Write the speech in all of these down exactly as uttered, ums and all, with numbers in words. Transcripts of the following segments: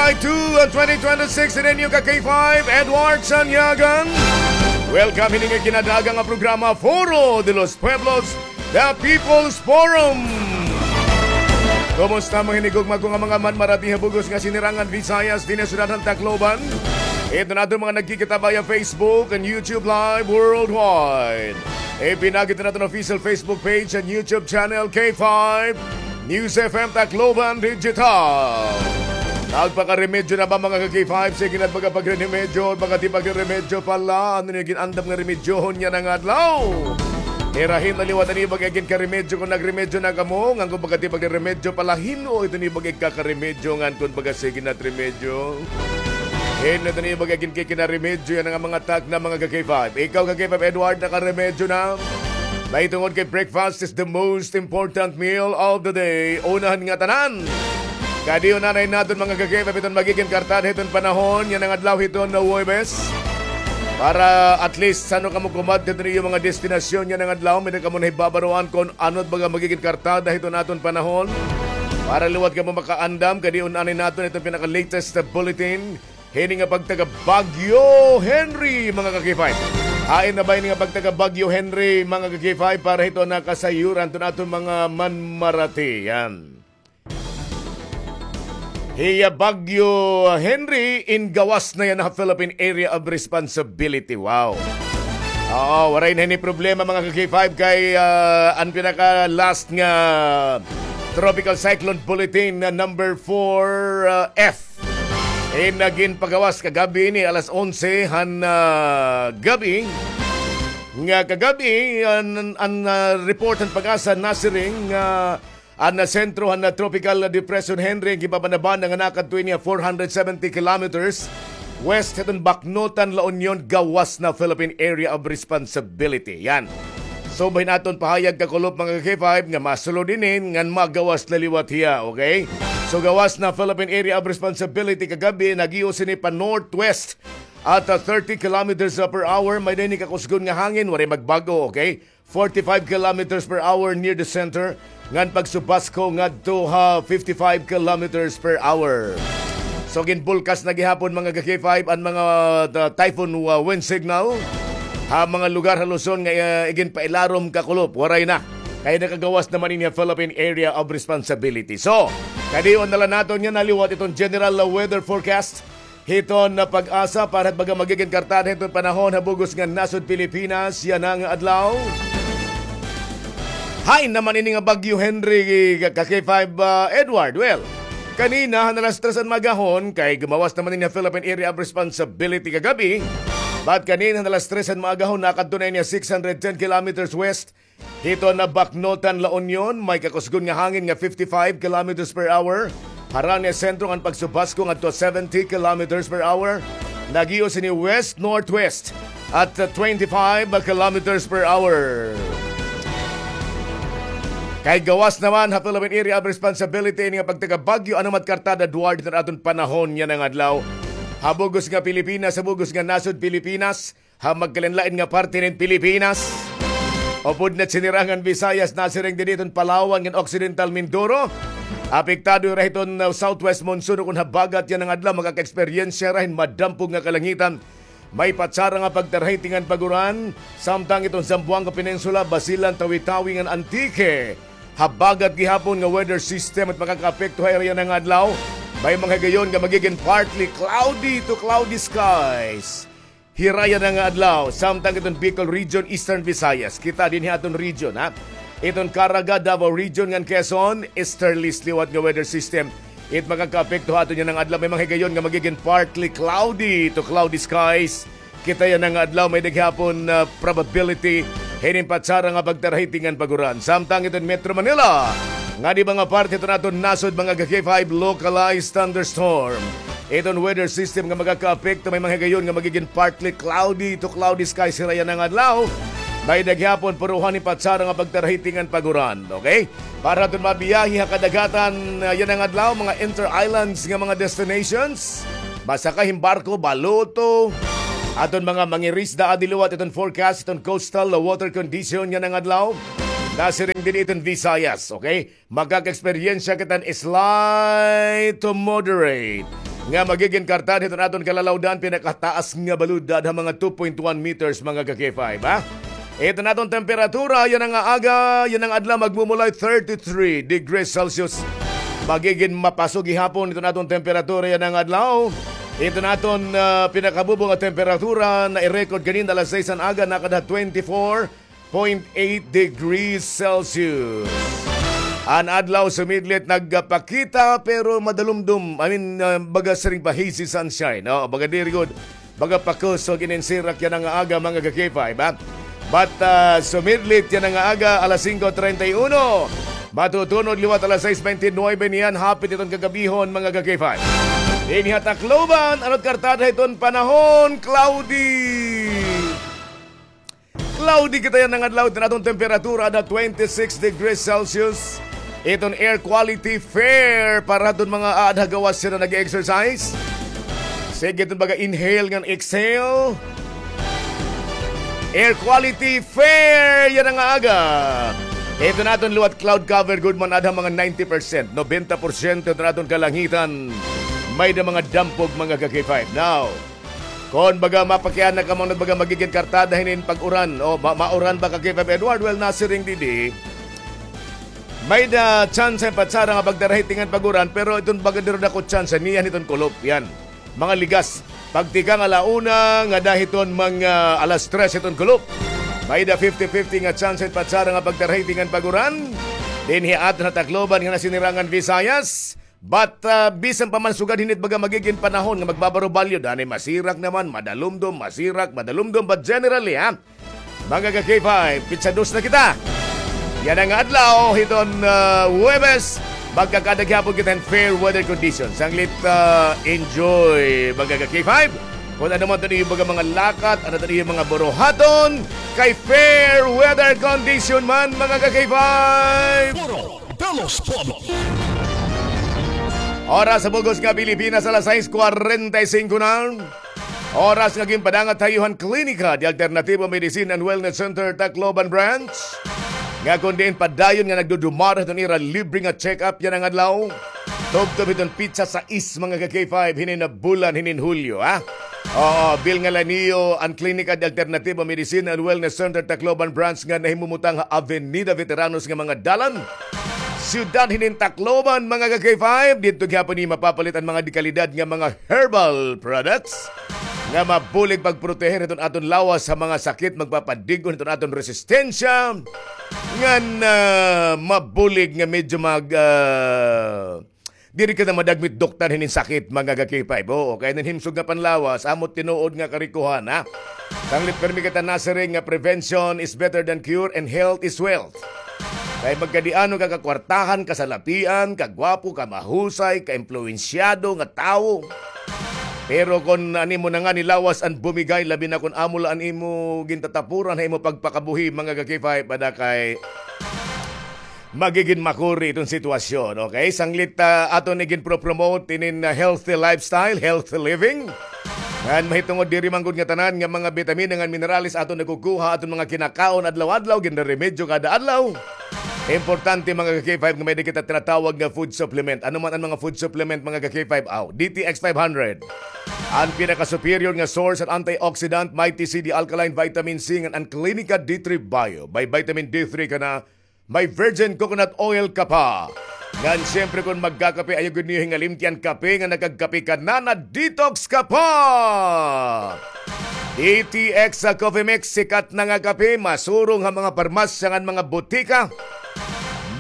July two, twenty twenty-six, ini an iyo ka K five, Edward Sanyagan. Welcome hini nga ginadaaga nga programa, Foro de los Pueblos, The People's Forum. Kumusta, mga hinigugma ko nga mga manmarati ha bug-os nga Sinirangan Visayas, dinhi ha syudad han Tacloban? Ito na aton mga nagkikita via Facebook and YouTube Live worldwide. Ipinagi na aton official Facebook page and YouTube channel, K five News F M Tacloban Digital. Nagpakaremedyo na ba, mga ka-K five? Sige na, magpakapagre-, remedyo, magpakatipag-remedyo pala. Ano niyo gin-andam nga remedyohon yana nga adlaw? Irahin na liwat an iyo bag-o nga ginkaremedyo. Kon nagremedyo na kamo, ngan kon magpakatipag-remedyo pala, hin-o ito an iyo bag-o nga ikakaremedyo, ngan kon baga sige na it remedyo, hin-o ito an iyo bag-o nga ginkikinaremedyo yana nga mga takna, mga ka-K five? Ikaw, ka-K five Edward, nakaremedyo na? Mahitungod kay breakfast is the most important meal of the day. Unahan nga tanan. Kadi-on anay naton, mga ka-K five, iton magigin kartada hiton panahon yana nga adlaw hiton Huwebes. Para at least san-o kamo kumadto hiton iyo mga destinasyon yana nga adlaw, may-ada kamo nahibabaroan kon ano it baga magigin kartada hiton aton panahon. Para liwat kamo makaandam, kadi-on anay naton iton pinaka-latest na bulletin hini nga pagtaga Bagyo Henry, mga ka-K five. Hain na ba ini nga pagtaga Bagyo Henry, mga ka-K five, para hiton kasayuran hiton aton mga manmarati? Yan. Hiya Bagyo Henry in gawas na yana ha Philippine Area of Responsibility. Wow. Oo, waray na ini problema, mga ka-K five, kay, ah, an pinaka-last nga Tropical Cyclone Bulletin na number four, ah, F. Eh, nagin pagawas kagab-i ini alas onse han, ah, gab-i. Nga kagab-i, an, an, ah, report han PAGASA nasiring nga an, ah, sentro han, ah, Tropical Depression Henry ginpapanabana nga nakadto ini four hundred seventy kilometers west hiton Baknotan, La Union, gawas na Philippine Area of Responsibility. Yan. So, bahin aton pahayag kakulop, mga ka-K five, nga masulod ini ngan magawas na liwat hiya, okay? So, gawas na Philippine Area of Responsibility kagab-i, nag-iyo sini pa-northwest at, ah, thirty kilometers per hour. May-ada ini kakusgon nga hangin, waray magbag-o, okay? Forty-five kilometers per hour near the center, ngan pagsubasko ngadto ha fifty-five kilometers per hour. So, ginbulkas na gihapon, mga ka-K five, an mga, uh, typhoon, uh, wind signal ha mga lugar ha Luzon nga, uh, iginpailarom kakulop. Waray na. Kay nakagawas naman ini ha Philippine Area of Responsibility. So, kadi-on na la naton yana liwat iton general, uh, weather forecast hiton PAGASA para hit baga magigin kartada hiton panahon ha bug-os nga nasod Pilipinas yana nga adlaw. Hain naman ini nga Bagyo Henry, ka-, ka-K five, ah, Edward? Well, kanina han alas tres han maagahon, kay gumawas naman ini ha Philippine Area of Responsibility kagab-i. But kanina han alas tres han maagahon, nakadto na ini six hundred ten kilometers west hiton Baknotan, La Union, may kakusgon nga hangin nga fifty-five kilometers per hour. Harani ha sentro ngan pagsubasko ngadto seventy kilometers per hour. Nag-iyo sini west-northwest at twenty-five kilometers per hour. Kay gawas naman ha Philippine Area of Responsibility ini nga pagtaga Bagyo, ano man it kartada, Edward, hiton aton panahon yana nga adlaw ha bug-os nga Pilipinas, ha bug-os nga nasod Pilipinas, ha magkalain-lain nga parte hin Pilipinas. Upod na Sinirangan Visayas, nasiring dinhi hiton Palawan ngan Occidental Mindoro. Apektado hira hiton, uh, southwest monsoon, kon habagat yana nga adlaw, makaka-eksperyensya hira hin madampog nga kalangitan. May patsara nga pagtarahiti ngan pag-uran, samtang hiton Zamboanga Peninsula, Basilan, Tawi-Tawi ngan Antique. Habagat gihapon nga weather system it makakaapekto ha area yana nga adlaw. May mga higayon nga magigin partly cloudy to cloudy skies hira yana nga adlaw, samtang iton Bicol Region, Eastern Visayas. Kita dinhi aton region, ha? Iton Caraga, Davao Region, ngan Quezon, easterlies liwat nga weather system it makakaapekto ha aton yana nga adlaw. May mga higayon nga magigin partly cloudy to cloudy skies. Kita yana nga adlaw, may-ada gihapon, ah, probability hinin patsara nga pagtarahiti ngan pag-uran. Samtang iton Metro Manila, ngan iba nga parte hiton aton nasod, mga ka-K five, localized thunderstorm iton weather system nga makakaapekto. May mga higayon nga magigin partly cloudy to cloudy skies hira yana nga adlaw. May-ada gihapon puruhan hin patsara nga pagtarahiti ngan pag-uran. Okay? Para aton mabiyahe ha kadagatan, ah, yana nga adlaw, mga inter-islands nga mga destinations, masakay hin barko, baluto, aton mga mangirisda adi liwat iton forecast, iton coastal water condition yana nga adlaw. Nasiring dinhi iton Visayas, okay? Makaka-eksperyensya kita hin slight to moderate nga magigin kartada hiton aton kalalawdan, pinakataas nga balod, ada mga two point one meters, mga ka-K five, ha? Iton aton temperatura yana nga aga, yana nga adlaw, magmumulay thirty-three degrees Celsius. Magigin mapaso gihapon iton aton temperatura yana nga adlaw. Iton aton, ah, pinakabubo nga temperatura na i-record kanina alas sais an aga, nakada twenty-four point eight degrees Celsius. An adlaw sumidlit nagpakita pero madalumdom. I mean, ah, baga siring pa hazy sunshine. No? Baga diri gud. Baga pakusog inin sirak yana nga aga, mga ka-K five, ha? But, ah, sumidlit yana nga aga, alas singko treinta y uno. Matutunod liwat alas sais beintinuebe niyan, hapit iton kagabihon, mga ka-K five. Dinhi ha Tacloban, ano't kartada hiton panahon, cloudy. Cloudy kita yana nga adlaw, iton aton temperatura ada twenty-six degrees Celsius. Iton air quality fair para hiton mga aada ha gawas sila nag-exercise. Sige, iton baga inhale ngan exhale. Air quality fair yana nga aga. Iton aton liwat cloud cover gud man ada mga ninety percent, nobenta porsyento iton aton kalangitan. May-ada mga dampog, mga ka-K five. Now, kon baga mapakiana kamo nga baga magigin kartada hinin pag-uran o ma-, mauran ba, ka-K five Edward? Well, nasiring didi, may-ada tsansa hin patsara nga pagdarahitingan pag-uran, pero iton baga diri dako tsansa niyan hiton kulop, yan. Mga ligas. Pagtikang ala una ngada hiton mga alas tres hiton kulop, may-ada fifty fifty nga tsansa hin patsara nga pagdarahitingan pag-uran dinhi ha aton ha Tacloban ngan ha Sinirangan Visayas. But, ah, bisan pa man sugad hini't baga magigin panahon nga magbabarubalyod, anay masirak naman, madalumdom, masirak, madalumdom. But generally, ha, mga ka-K five, pitsa dos na kita. Yana nga adlaw, hiton, ah, Huwebes, magkakada gihapon kita hin fair weather conditions. Sanglit, ah, enjoy, mga ka-K five. Kon ano man iton iyo baga mga lakat, ano iton iyo mga buruhaton, kay fair weather condition man, mga ka-K five. Puro de los Pueblos. Oras ha bug-os nga Pilipinas, alas sais kwarenta y singko na. Oras nga ginpadangat ha iyo han Klinika de Alternativo Medicine and Wellness Center, Tacloban Branch. Nga kon diin padayon nga nagdudumara hiton ira libre nga check-up yana nga adlaw. Tubtob hiton pitsa sais, mga ka-K five, hinin nga bulan, hinin Hulyo, ha? Oo, bilnga la niyo an Klinika de Alternativo Medicine and Wellness Center Tacloban Branch nga nahimumutang ha Avenida Veteranos nga mga dalan, siyudad hinin Tacloban, mga ka-K five. Didto gihapon niyo mapapalit an mga dekalidad nga mga herbal products nga mabulig pagproteher hiton aton lawas ha mga sakit, magpapadig-on hiton aton resistensya, ngan, ah, mabulig nga medyo mag, ah, diri ka na madagmit doktor hinin sakit, mga ka-K five. Oo, kay inin himsog nga panlawas, amo tinuod nga karikohan, ha? Sanglit pirmi kita nasiring nga prevention is better than cure and health is wealth. Kay magkadiano ka kakwartahan, kasalapian, kagwapo, kamahusay, kaimpluwensyado nga tawo. Pero kon an imo na ngani lawas an bumigay, labi na kon amo la an imo gintatapuran ha imo pagpakabuhi, mga ka-K five, ada kay magigin makuri iton sitwasyon, okay? Sanglit, ah, aton iginpropromote inin, ah, healthy lifestyle, healthy living. Ngan mahitungod diri man gud nga tanan nga mga bitamina ngan minerales aton nakukuha aton mga kinakaon adlaw-adlaw, ginreremedyo kada adlaw. Importante, mga ka-K five, nga may-ada kita tinatawag nga food supplement. Ano man an mga food supplement, mga ka-K five? Aw, D T X five hundred. An pinaka-superior nga source an antioxidant, Mighty C D alkaline vitamin C, ngan an Klinika D three Bio. May vitamin D three ka na, may virgin coconut oil ka pa. Ngan siyempre, kon magkakape, ayaw gud niyo hingalimti an kape nga nakagkape ka na, na-detox ka pa. D T X sa Coffee Mix, sikat na nga kape, masurong ha mga parmasya ngan mga butika.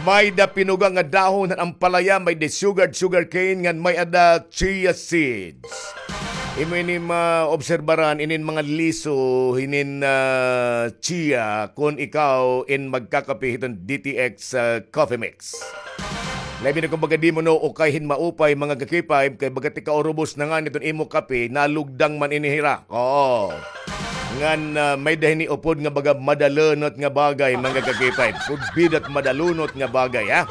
May-ada pinuga nga dahon han ampalaya, may-ada sugared sugarcane, ngan may-ada chia seeds. Imo ini maobserbaran inin mga liso hinin, ah, chia kon ikaw in magkakape hiton D T X, ah, Coffee Mix. Labi na kon baga diri mo na ukay hin maupay, mga ka-K five, kay baga tikaurubos na ngani iton imo kape, nalugdang man ini hira. Oo. Ngan, ah, may-ada hini upod nga baga madalunot nga bagay, mga ka-K five. Could be that madalunot nga bagay, ha?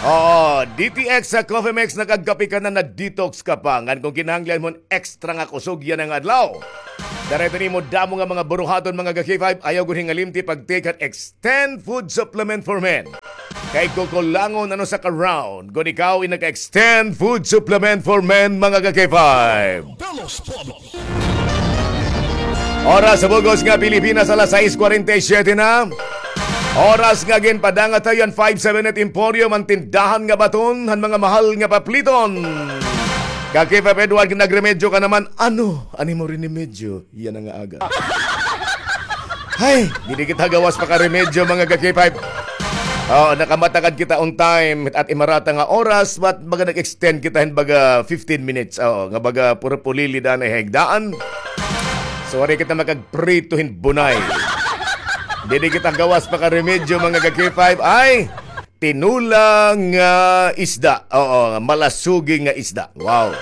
Oo, D T X sa Coffee Mix, nakagkape ka na, na-detox ka pa. Ngan kon kinahanglan mo hin extra nga kusog yana nga adlaw, Tara, ito nimo damo nga mga buruhaton, mga ka-K five, ayaw gud hingalimti pag-take han Extend Food Supplement for Men. Kay kukulangon ano sa ka-round, kun ikaw in naka-Extend Food Supplement for Men, mga ka-K five. Oras sa bug-os nga Pilipinas, alas sais kwarenta y siyete na. Oras nga ginpadangat ha iyo han five seven eight Emporium, an tindahan nga baton han mga mahal nga papliton. Ka-K five Edward, nagremedyo ka naman. Ano an imo rinemedyo yana nga aga? Hay, diri kita gawas pa ka remedyo, mga ka-K five. Oo, nakamatakad kita on time at imarata nga oras, but baga nag-extend kita hin baga fifteen minutes. Oo, nga baga puro pulili daan an higdaan. So, waray kita makagprito hin bunay. Diri kita gawas pa ka remedyo, mga ka-K five. Ay, tinula nga isda. Oo, malasugi nga isda. Wow.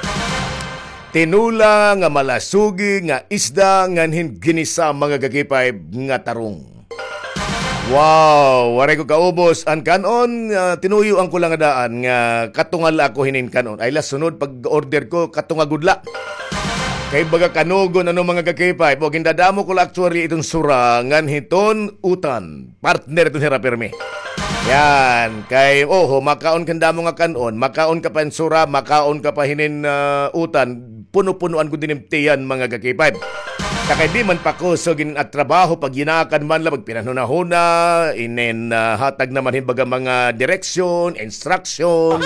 Tinula nga malasugi nga isda ngan hin ginisa, mga ka-K five, nga tarong. Wow, waray ko kaubos an kan-on, ah, tinuyoan ko la nga daan nga katunga la ako hinin kan-on. Ay la, sunod pag-order ko, katunga gud la. Kay baga kanugon ano, mga ka-K five, o gindadamo ko la actually iton sura ngan hiton utan. Partner iton hira pirmi. Yan, kay, oho, makaon ka hin damo nga kan-on, makaon ka pa hin sura, makaon ka pa hinin, ah, utan, puno-punoan gud ini im tiyan, mga ka-K five. Ta kay di man pakusog in at trabaho, pagyinakan man la, pagpinanhunahuna, inin, ah, hatag naman hin baga mga direksyon, instruction.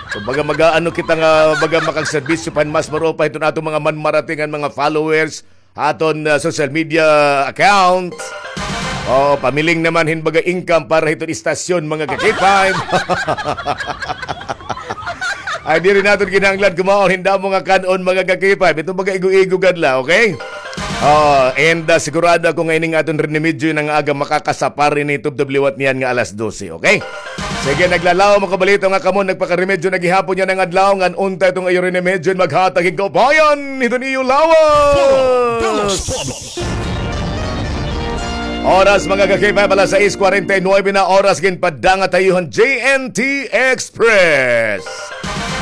So, baga mag-aano kita nga, baga makagserbisyo pa hin mas maupay hiton aton mga manmarating ngan mga followers, aton, ah, social media account. O, pamiling naman hin baga income para hiton istasyon, mga ka-K five. Ay, diri naton kinahanglan kumaon hin damo nga kan-on, mga ka-K five. Ito baga igo-igo gad la, okay? O, and, ah, sigurado ako nga ining aton rinemedyo yana nga aga makakasapar ini tubtob liwat niyan nga alas dose, okay? Sige, naglalaom ako balita nga kamo nagpakaremedyo na gihapon yana nga adlaw, ngan unta iton iyo rinemedyo maghatag hin kaupayan hiton iyo lawas. Oras, mga ka-K five, alas sais kwarenta y nuebe na, oras ginpadangat ha iyo han J N T Express.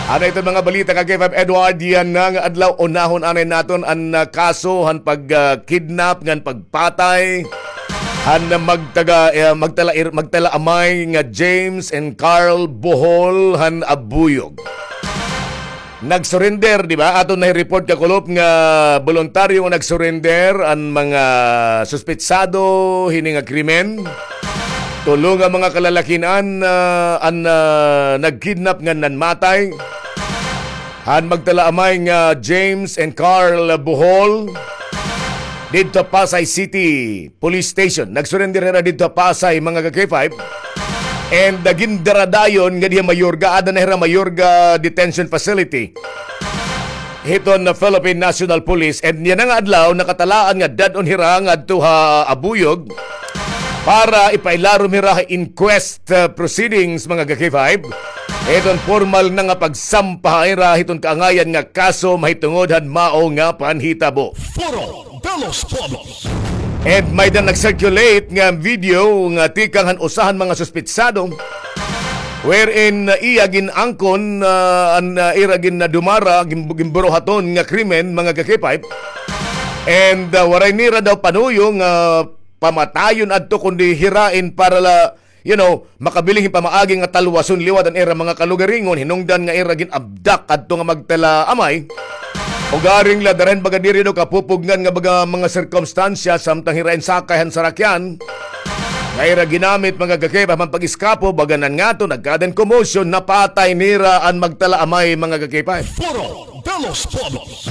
Ano iton mga balita, ka-K five Edward, yana nga adlaw? Unahon anay naton an, ah, kaso han pag, ah, kidnap ngan pagpatay han magtaga, eh, magtala-, magtalaamay nga James and Carl Bohol han Abuyog. Nag-surrender, di ba? Aton na-report kakulop nga boluntaryo nga nag-surrender an mga suspetsado hini nga krimen. Tulo nga mga kalalakin-an, ah, an, ah, nagkidnap ngan nanmatay han magtalaamay nga James and Carl Bohol didto ha Pasay City Police Station. Nag-surrender hira didto ha Pasay, mga ka-K five. And, ah, gindara dayon ngadi ha Mayorga, ada na hira Mayorga Detention Facility hiton Philippine National Police. And yana nga adlaw, nakatalaan nga dad-on hira ngadto ha Abuyog para ipailarom hira ha inquest, ah, proceedings, mga ka-K five. Hiton formal na nga pagsampa ha ira hiton kaangayan nga kaso mahitungod han mao nga panhitabo. Foro de los Pueblos. And may-ada nag-circulate nga video nga tikang han usa han mga suspetsado, wherein, uh, iya gin-angkon, uh, an, uh, ira gin-, nadumara, gin-, ginburuhaton nga krimen, mga ka-K five. And, uh, waray nira daw panuyo nga pamatayon adto, kundi hirain para la, you know, makabiling hin pamaagi nga talwason liwat an ira mga kalugaringon, hinungdan nga ira gin-abduct adto nga magtalaamay. Ugaring la, dara hin baga diri daw kapupugngan nga baga mga sirkumstansya, samtang hira in sakay han sarakyan nga ira ginamit, mga ka-K five, han pag-eskapo, baga nan ngato, nagkaada hin commotion, napatay nira an magtalaamay, mga ka-K five. Foro de los Pueblos.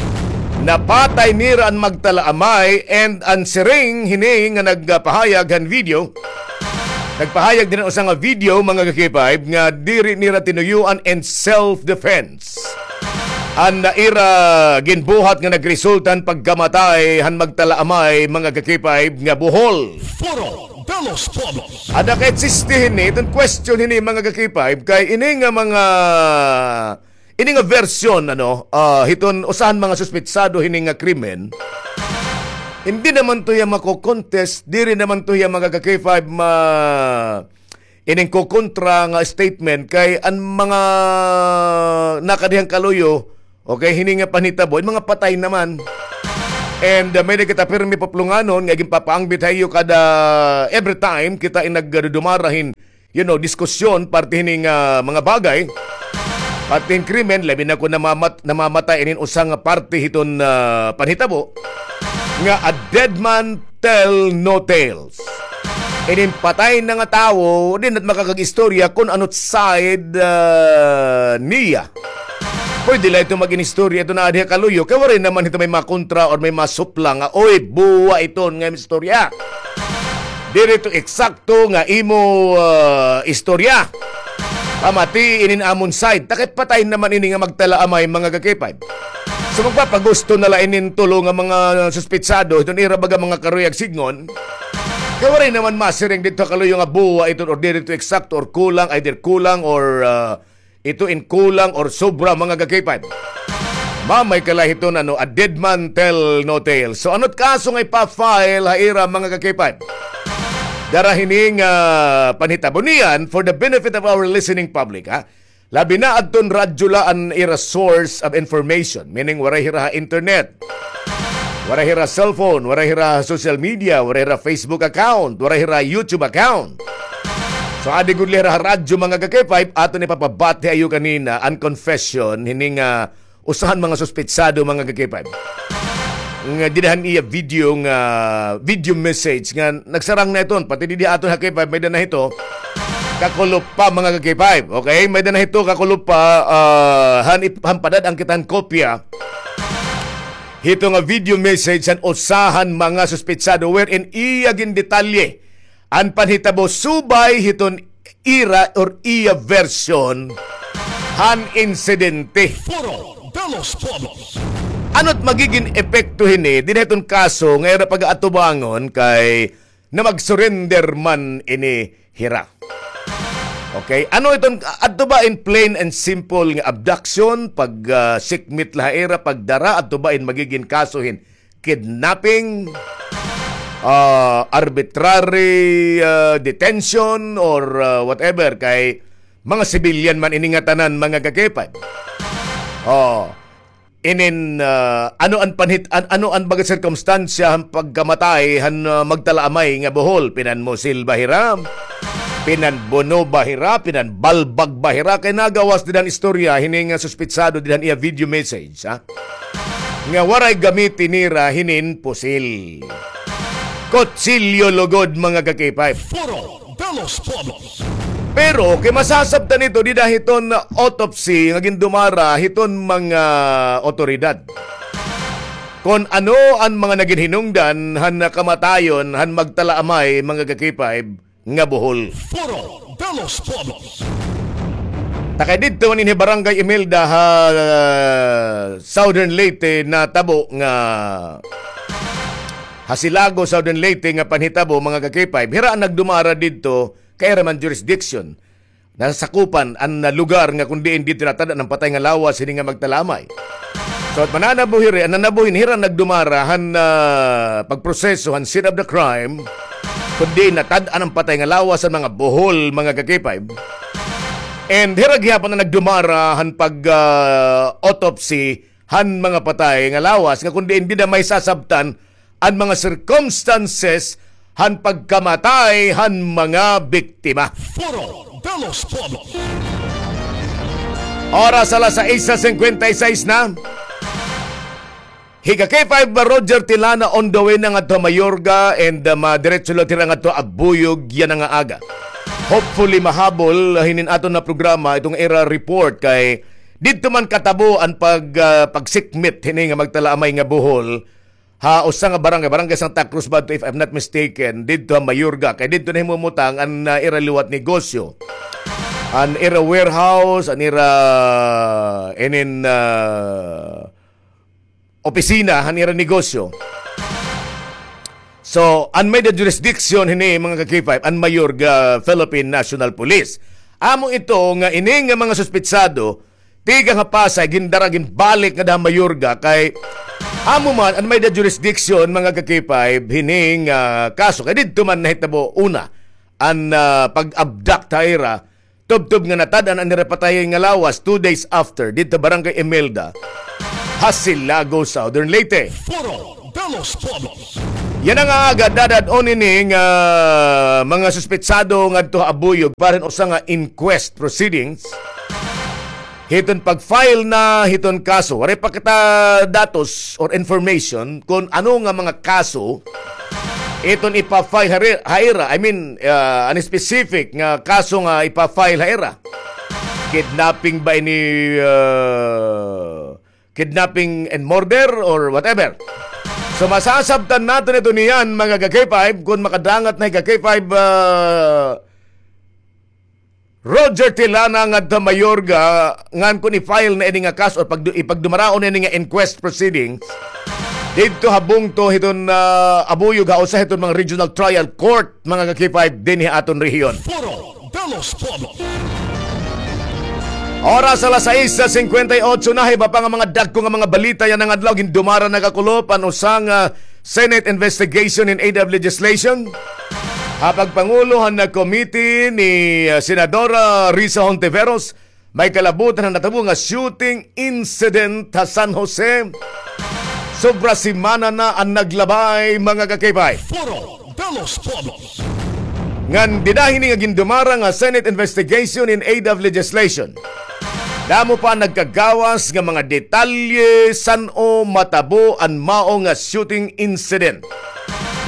Napatay nira an magtalaamay, and an siring hini nga nagpahayag han video, nagpahayag dinhi han usa nga video, mga ka-K five, nga diri nira tinuyoan in self-defense an ira ginbuhat nga nagresulta han pagkamatay han magtalaamay, mga ka-K five, nga buhol. Foro de los Pueblos. Ada ka-existe hini, iton question hini, mga ka-K five, kay ini nga mga Ini nga version, ano, ah, hiton usa han mga suspetsado hini nga krimen, hindi naman to hiya mako-contest, diri naman to hiya, mga ka-K five, ma-, ining kokontra nga statement kay an mga nakadi han kaluyo, okay, hini nga panhitabo, mga patay naman. And uh, may-ada kita pirmi puplonganon nga ginpapaangbit ha iyo kada every time kita in nagdudumara hin, you know, diskusyon parte hining ah, mga bagay. Parte hin krimen, labi na kon namamat-, namamatay inin usa nga parte hiton ah, panhitabo nga a dead man tell no tales. Inin patay na nga tawo, di na makakag-istorya kon ano't side ah, niya. Pwede la ito mag-inistorya ito na adi ha kaluyo, kay waray naman ito may makontra or may masupla nga, "Oy, buwa iton nga istorya." Diri ito eksakto nga imo ah, istorya. Pamati inin amon side, ta kay patay naman ini nga magtalaamay, mga ka-K five. So magpapagusto na la inin tulo nga mga suspitsado, hiton ira baga mga karuyag sidngon. Kay waray naman masiring didto ha kaluyo nga buwa iton or diri ito eksakto or kulang, either kulang or ah, ito in kulang or sobra, mga ka-K five. Mamay ka la hiton ano, a dead man tell no tale. So ano't kaso nga ipa-file ha ira, mga ka-K five? Dara hining ah, panhitabo niyan for the benefit of our listening public, ha? Labi na adton radyo la an ira source of information, meaning waray hira ha internet. Waray hira cellphone, waray hira social media, waray hira Facebook account, waray hira YouTube account. So adi gud la hira ha radyo, mga ka-K five, aton ipapabati ha iyo kanina an confession hining ah, usa han mga suspitsado, mga ka-K five. Nga dida han iya video nga video message nga nagsarang na iton, pati didi aton ha K five may-ada na hito kakulop pa, mga ka-K five. Okay, may-ada na hito kakulop pa ah, han ip-, han padad-an kita han kopya hito nga video message han usa han mga suspitsado wherein iya gindetalye an panhitabo subay hiton ira or iya version han insidente. Foro de los Pueblos. Ano't magigin epekto hini dida hiton kaso nga ira pag-aatubangon kay na mag-surrender man ini hira? Okay, ano iton, adto ba in plain and simple nga abduction, pag ah, sikmit la ha ira, pagdara, adto ba in magigin kaso hin kidnapping, ah, arbitrary ah, detention or ah, whatever, kay mga civilian man ini ngatanan, mga ka-K five. Oh, inin ah, ano an panhit-, an-, ano an baga sirkumstansya han pagkamatay han ah, magtalaamay nga buhol? Pinanmusil ba hira? Pinanbuno ba hira? Pinanbalbag ba hira? Kay nagawas dida han istorya hini nga suspitsado dida han iya video message, ha? Nga waray gamiti nira hinin pusil. Kutsilyo lugod, mga ka-K five. Foro de los Pueblos. Pero kay masasabtan ito dida hiton autopsy nga gindumara hiton mga otoridad kon ano an mga nagin hinungdan han kamatayon han magtalaamay, mga ka-K five, nga buhol. Foro de los Pueblos. Ta kay didto man ini Barangay Imelda ha Southern Leyte natabo nga ha Silago, Southern Leyte nga panhitabo, mga ka-K five. Hira an nagdumara didto kay ira man jurisdiction. Nasakupan an lugar nga kon diin didto natad-an an patay nga lawas hini nga magtalaamay. So, at mananabuhi ri, an nanabuhi hira nagdumara han ah, pagproseso han scene of the crime, kon diin natad-an an patay nga lawas han mga buhol, mga ka-K five. And hira gihapon an nagdumara han pag ah, autopsy han mga patay nga lawas nga kon diin dida mahisasabtan an mga circumstances han pagkamatay han mga biktima. Foro de los Pueblos. Oras alas sais cincuenta y seis na. Hi ka-K five Roger Tilana on the way na ngadto Mayorga and ah, madiretso la hira ngadto Abuyog yana nga aga. Hopefully mahabol hinin aton nga programa iton ira report kay didto man katabo an pag ah, pagsikmit hini nga magtalaamay nga buhol ha usa nga barangay, Barangay Santa Cruz ba ito, if I'm not mistaken, didto ha Mayorga. Kay didto nahimumutang an ah, ira liwat negosyo, an ira warehouse, an ira inin ah, opisina han ira negosyo. So an may-ada jurisdiction hini, mga ka-K five, an Mayorga Philippine National Police. Amo ito nga ini nga mga suspitsado tikang ha Pasay gindara ginbalik ngada ha Mayorga kay amo man an may-ada jurisdiction, mga ka-K five, hini nga kaso kay didto man nahitabo una an ah, pag-abduct ha ira tubtob nga natad-an an ira patay nga lawas two days after didto Barangay Imelda ha Silago, Southern Leyte. Foro Delos Pobos. Yana nga aga, dadad-on ini nga mga suspetsado ngadto ha Abuyog para hin usa nga inquest proceedings hiton pag-file na hiton kaso. Waray pa kita datos or information kon ano nga mga kaso iton ipa-file ha ri-, ha ira. I mean, ah, an specific nga kaso nga ipa-file ha ira. Kidnapping ba ini, ah, kidnapping and murder or whatever. So, masasabtan naton ito niyan, mga ka-K five, kon makadangat na hi ka-K five, ah, Roger Tilana ngadto ha Mayorga, ngan kon i-file na ini nga kaso or pagdu-, ipagdumaraon na ini nga inquest proceedings didto ha bungto hiton, ah, Abuyog ha usa hiton mga regional trial court, mga ka-K five, dinhi ha aton rehiyon. Foro de los Pueblos. Oras alas sais singkwenta y otso na, iba pa nga mga dagko nga mga balita yana nga adlaw. Gindumara na kakulop an usa nga Senate investigation in aid of legislation ha pagpangulo han committee ni, ah, Senadora Risa Hontiveros, may kalabutan han natabo nga shooting incident ha San Jose. Sobra semana na an naglabay, mga ka-K five. Foro de los Pueblos. Ngan dida hini nga gindumara nga Senate investigation in aid of legislation, damo pa nagkagawas nga mga detalye san-o matabo an mao nga shooting incident.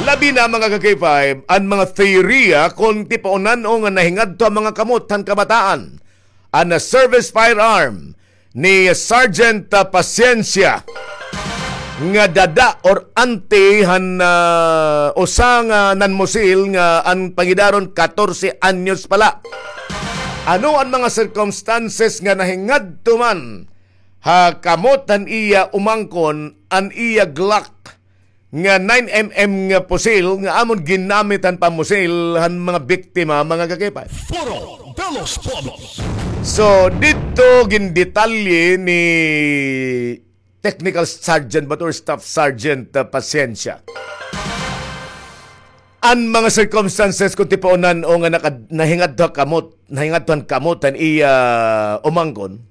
Labi na, mga ka-K five, an mga teorya kon tipaunan-o nga nahingadto an mga kamot han kabataan an service firearm ni Sergeant, ah, Pasiencia nga dada or auntie han, ah, usa nga nanmusil nga an pangidaron katorse anyos pa la. Ano an mga circumstances nga nahingadto man ha kamot han iya umangkon an iya Glock nga nine M M nga pusil nga amon ginamit han pamusil han mga biktima, mga ka-K five? Foro de los Pueblos. So, didto gindetalye ni Technical Sergeant ba to or Staff Sergeant, ah, Pasiencia an mga circumstances kon tipaunan-o nga nakad-, nahingadto ha kamot, nahingadto han kamot han iya umangkon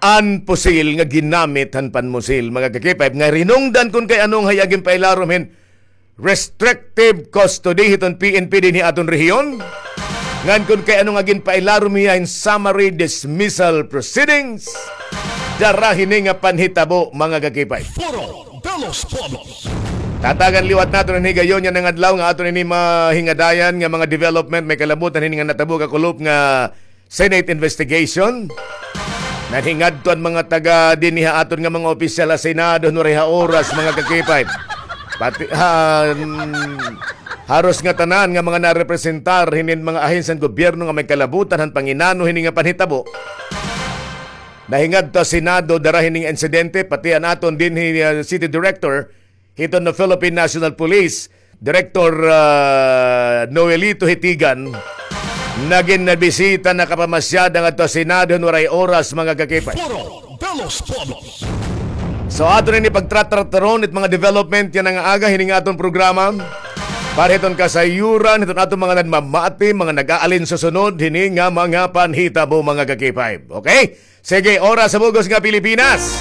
an pusil nga ginamit han panmusil, mga ka-K five, nga rinungdan kon kay ano nga hiya ginpailarom hin restrictive custody hiton P N P dinhi aton rehiyon. Ngan kon kay ano nga ginpailarom hiya hin summary dismissal proceedings dara hini nga panhitabo, mga ka-K five. Foro de los Pueblos. Tatagan liwat naton an higayon yana nga adlaw nga aton ini mahingadayan nga mga development may kalabutan hini nga natabo kakulop nga Senate investigation. Nahingadto an mga taga dinhi ha aton nga mga opisyal ha Senado, waray ha oras, mga ka-K five. Pati, ha, mm, haros nga tanan nga mga narepresentar hinin mga ahensya han gobyerno nga may kalabutan han panginano hini nga panhitabo. Nahingadto ha Senado dara hini nga insidente, pati an aton dinhi, ah, City Director, hiton Philippine National Police, Director, ah, Noelito Hitigan, nagin nabisita, nakapamasyada ngadto ha Senado, waray oras, mga ka-K five. Foro de los Pueblos. So, aton ini pagtratrataron it mga development yana nga aga hini nga aton programa. Para hiton kasayuran hiton aton mga nagmamati, mga nag-aalin susunod hini nga mga panhitabo, mga ka-K five. Okay? Sige, oras sa bug-os nga Pilipinas.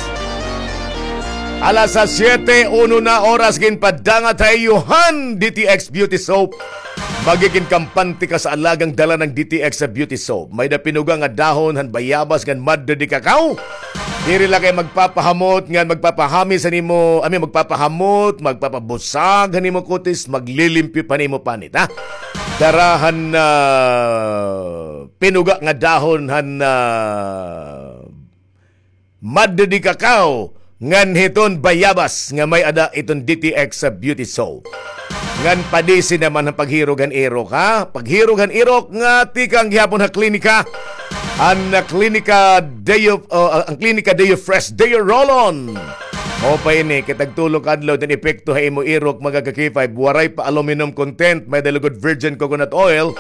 Alas siyete uno na oras, ginpadangat ha iyo han D T X Beauty Soap. Magigin kampante ka sa alagang dala ng D T X sa Beauty Soap. May-ada pinuga nga dahon han bayabas ngan madre de cacao. Diri la kay magpapahamot ngan magpapahamis han imo, I mean, magpapahamot, magpapabusag han imo kutis, maglilimpyo pa han imo panit, ha? Dara han, ah, pinuga nga dahon han, ah, madre de cacao ngan hiton bayabas nga may-ada iton D T X sa Beauty Soap. Ngan padisi naman han paghirog han irok, ha? Paghirog han irok nga tikang gihapon ha klinika. An, ah, klinika Deo, oh, ah, an klinika Deo Fresh, Deo Roll-On. Mao pa ini, kay tagtulo ka adlaw it an epekto ha imo irok, mga ka-K five, waray pa aluminum content, may-ada lugod virgin coconut oil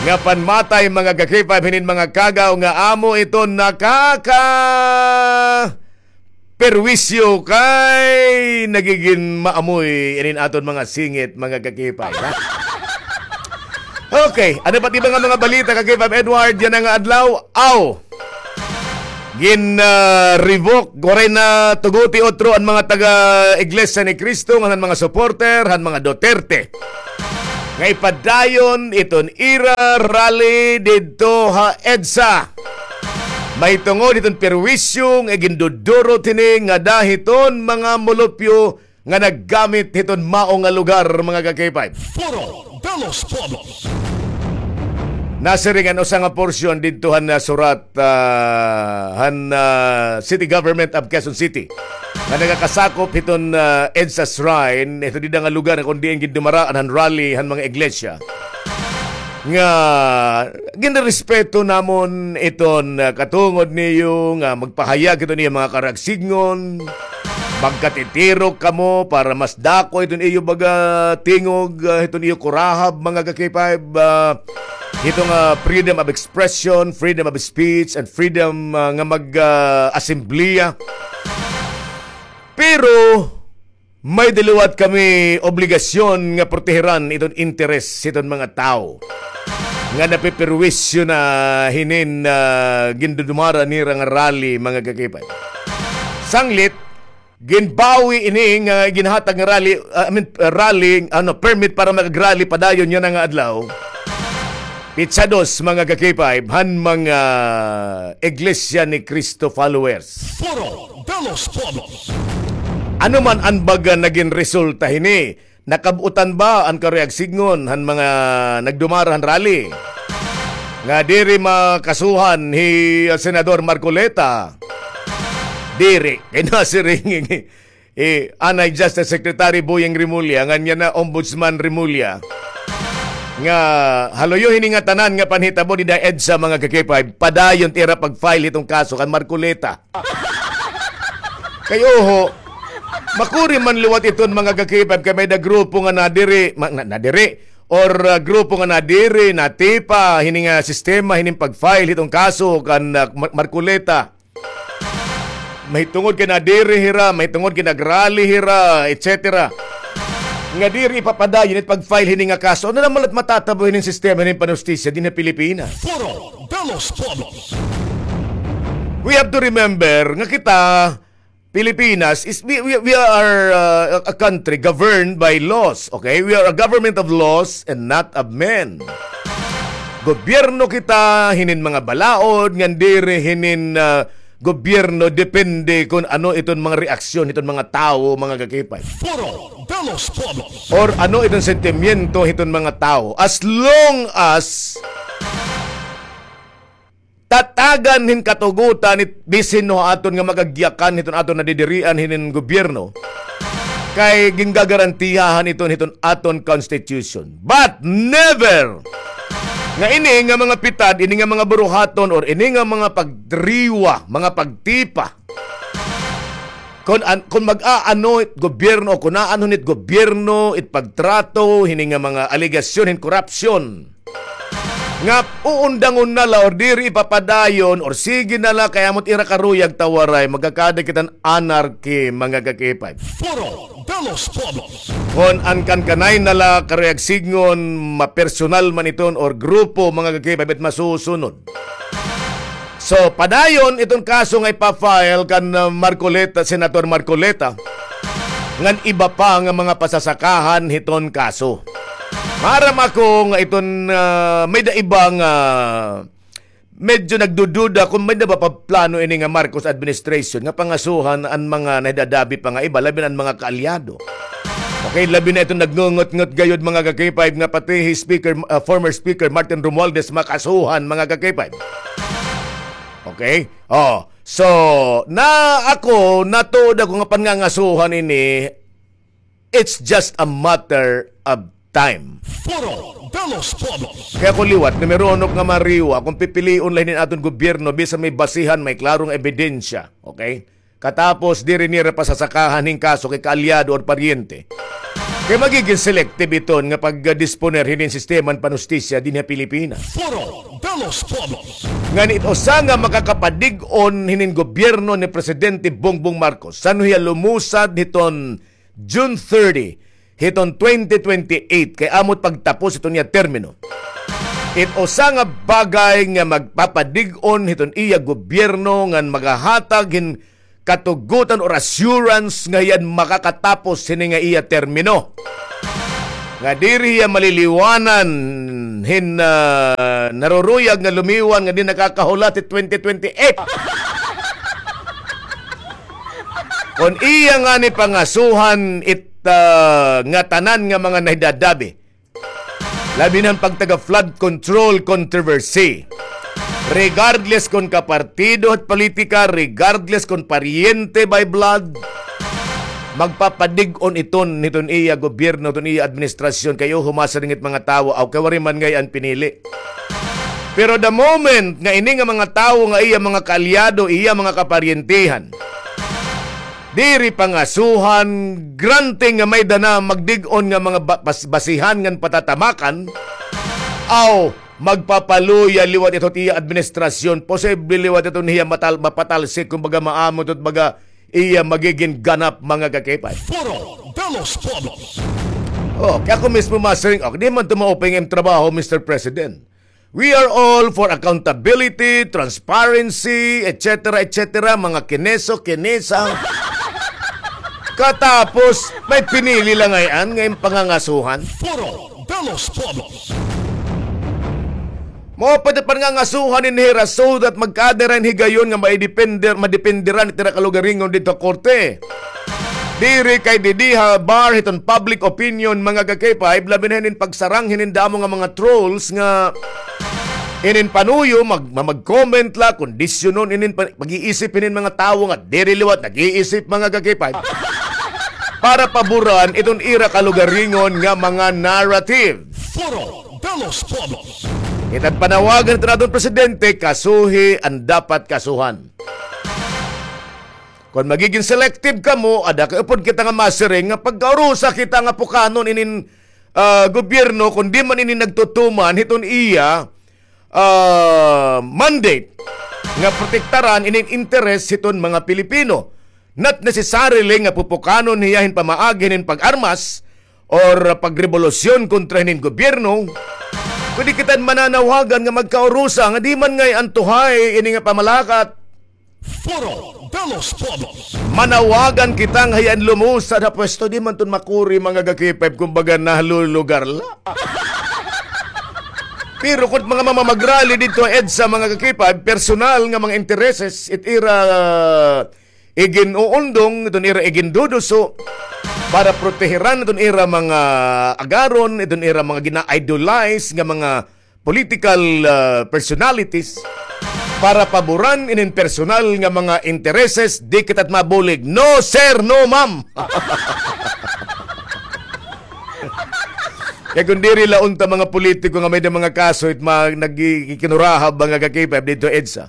nga panmatay, mga ka-K five, hinin mga kagaw nga amo iton nakaka-perwisyo kay nagigin maamoy inin aton mga singit, mga ka-K five, ha? Okay, ano pa it iba nga mga balita, ka-K five Edward, yana nga adlaw? Aw! Gin, ah, revoke, waray na tuguti utro an mga taga Iglesia ni Cristo, ngan han mga supporter han mga Duterte, nga ipadayon iton ira rally didto ha EDSA. Mahitungod hiton perwisyo nga gindudurot hini ngada hiton mga mulupyo nga naggamit hiton mao nga lugar, mga ka-K five. Foro de los Pueblos. Nasiring an usa nga porsyon didto han, ah, surat, ah, han, ah, City Government of Quezon City nga nagakasakop hiton, ah, EDSA Shrine, ito dida nga lugar kon diin gindumaraan han rally han mga iglesia, nga ginrespeto namon iton, ah, katungod niyo nga magpahayag hiton iyo mga karuyag sidngon. Magkatitirok kamo para mas dako iton iyo baga tingog, ah, hiton iyo kurahab, mga ka-K five, ah, hiton, ah, freedom of expression, freedom of speech, and freedom, ah, nga mag, ah, asembleya. Pero may-ada liwat kami obligasyon nga proteheran iton interes hiton mga tawo nga napeperwisyo na hinin, ah, gindudumara nira nga rally, mga ka-K five. Sanglit, ginbawi ini nga ginhatag nga rally, ah, I mean, ah, rally, ano, permit para mag-rally padayon yana nga adlaw. Pitsa dos, mga ka-K five, han mga Iglesia ni Cristo followers. Foro de los Pueblos. Ano man an baga nagin resulta hini? Nakab-utan ba an karuyag sidngon han mga nagdumara han rally nga diri makasuhan hi, ah, Senador Marcoleta? Diri. Kay nasiring, eh, anay Justice Secretary Boying Remulla, ngan yana Ombudsman Remulla, nga haluyo hini nga tanan nga panhitabo dida ha EDSA, mga ka-K five, padayon it ira pag-file hiton kaso kan Marcoleta. Kay oho, makuri man liwat iton, mga ka-K five, kay may-ada grupo nga nadiri, ma-, na-, nadiri, or, ah, grupo nga nadiri, natipa hini nga sistema hining pag-file hiton kaso kan, ah, Mar-, Marcoleta. Mahitungod kay nadiri hira, mahitungod kay nag-rally hira, et cetera. Nga diri ipapadayon it pag-file hini nga kaso. Ano naman la't matatabo hining sistema hining panustisya dinhi ha Pilipinas? Foro de los Pueblos. We have to remember nga kita, Pilipinas, is, we, we, we are, uh, a country governed by laws, okay? We are a government of laws and not of men. Gobyerno kita hinin mga balaod, ngan diri hinin, ah, gobyerno depende kon ano iton mga reaksyon hiton mga tawo, mga ka-K five. Foro de los Pueblos. Or ano iton sentimiento hiton mga tawo. As long as tatagan hin katugotan it bisin no aton nga magagyakan hiton aton nadidirian hinin gobyerno, kay gingagarantiyahan iton hiton aton constitution. But never nga ini nga mga pitad, ini nga mga buruhaton, or ini nga mga pagtriwa, mga pagtipa, kon an-, kon mag-aano it gobyerno o kon aanhon it gobyerno it pagtrato hini nga mga alegasyon hin korupsyon, nga uundangon na la or diri ipapadayon or sige na la kay amo it ira karuyag ta waray, magkakada kita hin anarchy, mga ka-K five. Foro de los Pueblos. Kon an kankanay na la karuyag sidngon, mapersonal man iton or grupo, mga ka-K five, it masusunod. So, padayon iton kaso nga ipa-file kan, uh, Marcoleta, Senator Marcoleta, ngan iba pa nga mga pasasakahan hiton kaso. Maaram ako nga iton, uh, may-ada iba nga medyo nagdududa kon may-ada ba pa plano ini nga Marcos administration nga pangasuhan an mga nahidadabi pa nga iba, labi na an mga kaalyado. Okay, labi na iton nagngungot-ngot gayod, mga ka-K five, nga pati hi Speaker, uh, former Speaker Martin Romualdez makasuhan, mga ka-K five. Okay? Oh, so, na ako, natuod ako nga pangangasuhan ini, it's just a matter of time. Foro de los Pueblos. Kay ako liwat, numero uno nga mariwa, kon pipilion la hinin aton gobyerno, bisan may basihan, may klaro nga ebidensya. Okay? Katapos, diri nira pasasakahan hin kaso kay kaalyado or paryente. Kay magigin selective iton nga pagdisponer hinin sistema hin panustisya dinhi ha Pilipinas. Foro de los Pueblos. Ngan it usa nga makakapadig-on hinin gobyerno ni Presidente Bongbong Marcos, san-o hiya lumusad hiton June thirty, hiton twenty twenty-eight, kay amo it pagtapos hiton iya termino. It usa nga bagay nga magpapadig-on hiton iya gobyerno ngan magahatag hin katugutan or assurance nga hiya an makakatapos hini nga iya termino. Nga diri hiya maliliwanan hin, ah, naruruyag nga lumiwan nga di nakakahulat it twenty twenty-eight. Kon iya ngani pangasuhan it, ah, ngatanan nga mga nahidadabi, labi na an pagtaga flood control controversy. Regardless kon kapartido hit politika, regardless kon paryente by blood, magpapadig-on iton hiton iya gobyerno, hiton iya administrasyon, kay uho masiring it mga tawo, aw kay waray man ngay-an pinili. Pero the moment nga ini nga mga tawo nga iya mga kaalyado, iya mga kaparyentehan, diri pangasuhan, granting nga may-ada na magdig-on nga mga ba-, bas-, basihan ngan patatamakan, aw magpapaluya liwat ito it iya administrasyon, posible liwat ito hiya matal-, mapatalsik, kumbaga maamo ito, baga iya magigin ganap, mga kakipay. Foro de los Pueblos. Oh, kay ako mismo masiring, oh, di man ito maupay nga im trabaho, Mister President. We are all for accountability, transparency, et cetera, et cetera. Mga kineso, kinesa. Katapos, may pinili la ngay-an nga im pangangasuhan. Foro de los Pueblos. Mao pa it pangangasuhan ini hira so that magkaada hira hin higayon nga maidepender-, madependeran it ira kalugaringon didto ha korte. Diri kay didi ha bar hiton public opinion, mga ka-K five, labi na hinin pagsarang hinin damo nga mga trolls nga inin panuyo, mag-, ma-, mag-comment la, kondisyonon inin pa-, pag-iisip hinin mga tawo nga diri liwat nag-iisip, mga ka-K five, para paboran iton ira kalugaringon nga mga narrative. Foro de los Pueblos. Kita it panawagan hiton aton presidente, kasuhi an dapat kasuhan. Kon magigin selective kamo, ada kay upod kita nga masiring nga pagkaurusa kita nga pukanon inin, ah, gobyerno, kon di man ini nagtutuman hiton iya, ah, mandate nga protektaran inin interes hiton mga Pilipino. Not necessarily nga pupukanon hiya hin pamaagi hinin pag-armas or pagrevolusyon kontra hinin gobyerno, kundi kita mananawagan nga magkaurusa nga di man ngay-an tuhay ini nga pamalakat. Foro de los Pueblos. Manawagan kita nga hiya an lumusad ha pwesto, di man iton makuri, mga ka-K five, kumbaga nalulugar la. Pero kon mga mamamagrali didto ha EDSA, mga ka-K five, personal nga mga intereses, it ira igin-uundong, iton ira iginduduso, para proteheran iton ira mga agaron, iton ira mga gina-idolize nga mga political, ah, personalities, para paboran inin personal nga mga intereses, di kita mabulig. No, sir, no, ma'am. Kay kon diri la unta mga politiko nga may-ada mga kaso, it ma-, nagkikinurahab, mga ka-K five, didto ha EDSA.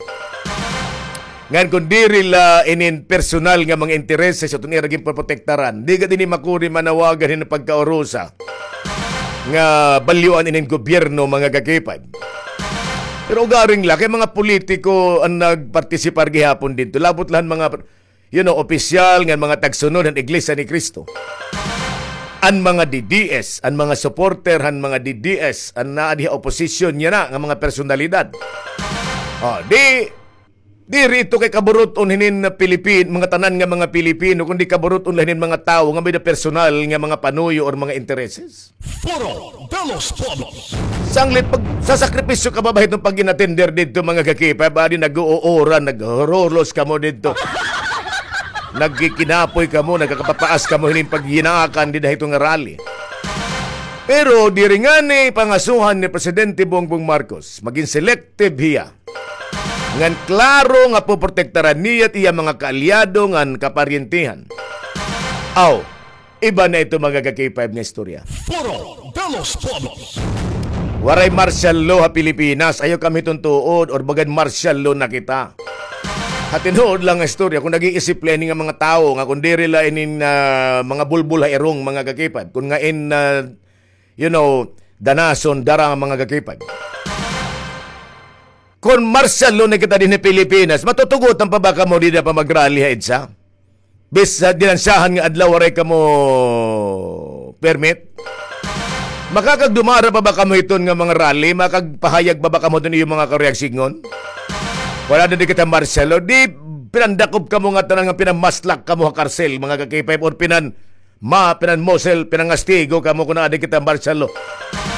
Ngan kon diri la inin personal nga mga intereses iton ira ginpoprotektaran, di gad ini makuri manawagan hin pagkaurusa nga balyoan inin gobyerno, mga ka-K five. Pero ugaring la kay mga politiko an nagpartisipar gihapon didto, labot la han mga, you know, opisyal ngan mga tagsunod han Iglesia ni Cristo. An mga D D S, an mga supporter han mga D D S, an naa dinhi ha oposisyon yana nga mga personalidad. Oh, di, diri ito kay kaburut-on hinin Pilipin-, mga tanan nga mga Pilipino, kundi kaburut-on la hinin mga tawo nga may-ada personal nga mga panuyo or mga intereses. Foro de los Pueblos. Sanglit pagsasakripisyo ka ba, ba hiton pag-inatender didto, mga ka-K five, adi nag-uuran, naghurulos kamo didto. Nagkikinapoy kamo, nagkakapapaas kamo hinin paghinaakan dida hiton nga rally. Pero diri ngani pangasuhan ni Presidente Bongbong Marcos, magin selective hiya. Ngan klaro nga poprotektaran niya it iya mga kaalyado ngan kaparyentehan. Aw, iba na ito, mga ka-K five, nga istorya. Foro de los Pueblos. Waray martial law ha Pilipinas. Ayaw kamo hiton tuod or bagan martial law na kita. Ha tinuod la nga istorya, kon nag-iisip la ini nga mga tawo nga kon diri la inin, ah, mga bulbol ha irong, mga ka-K five, kon ngain, ah, you know, danason dara nga mga ka-K five. Kon martial law na kita dinhi ha Pilipinas, matutugotan pa ba kamo dida pa mag-rally ha EDSA? Bis, ah, dinansyahan nga adlaw waray kamo permit? Makakagdumara pa ba kamo hiton nga mga rally? Makagpahayag pa ba kamo hiton iyo mga karuyag sidngon? Wala na di kita martial law. Di pinandakop kamo nga tanan nga pinamaslak kamo ha karsel, mga ka-K five, or pinan-, ma-, pinanmusel, pinangastigo kamo kon naa di kita martial law.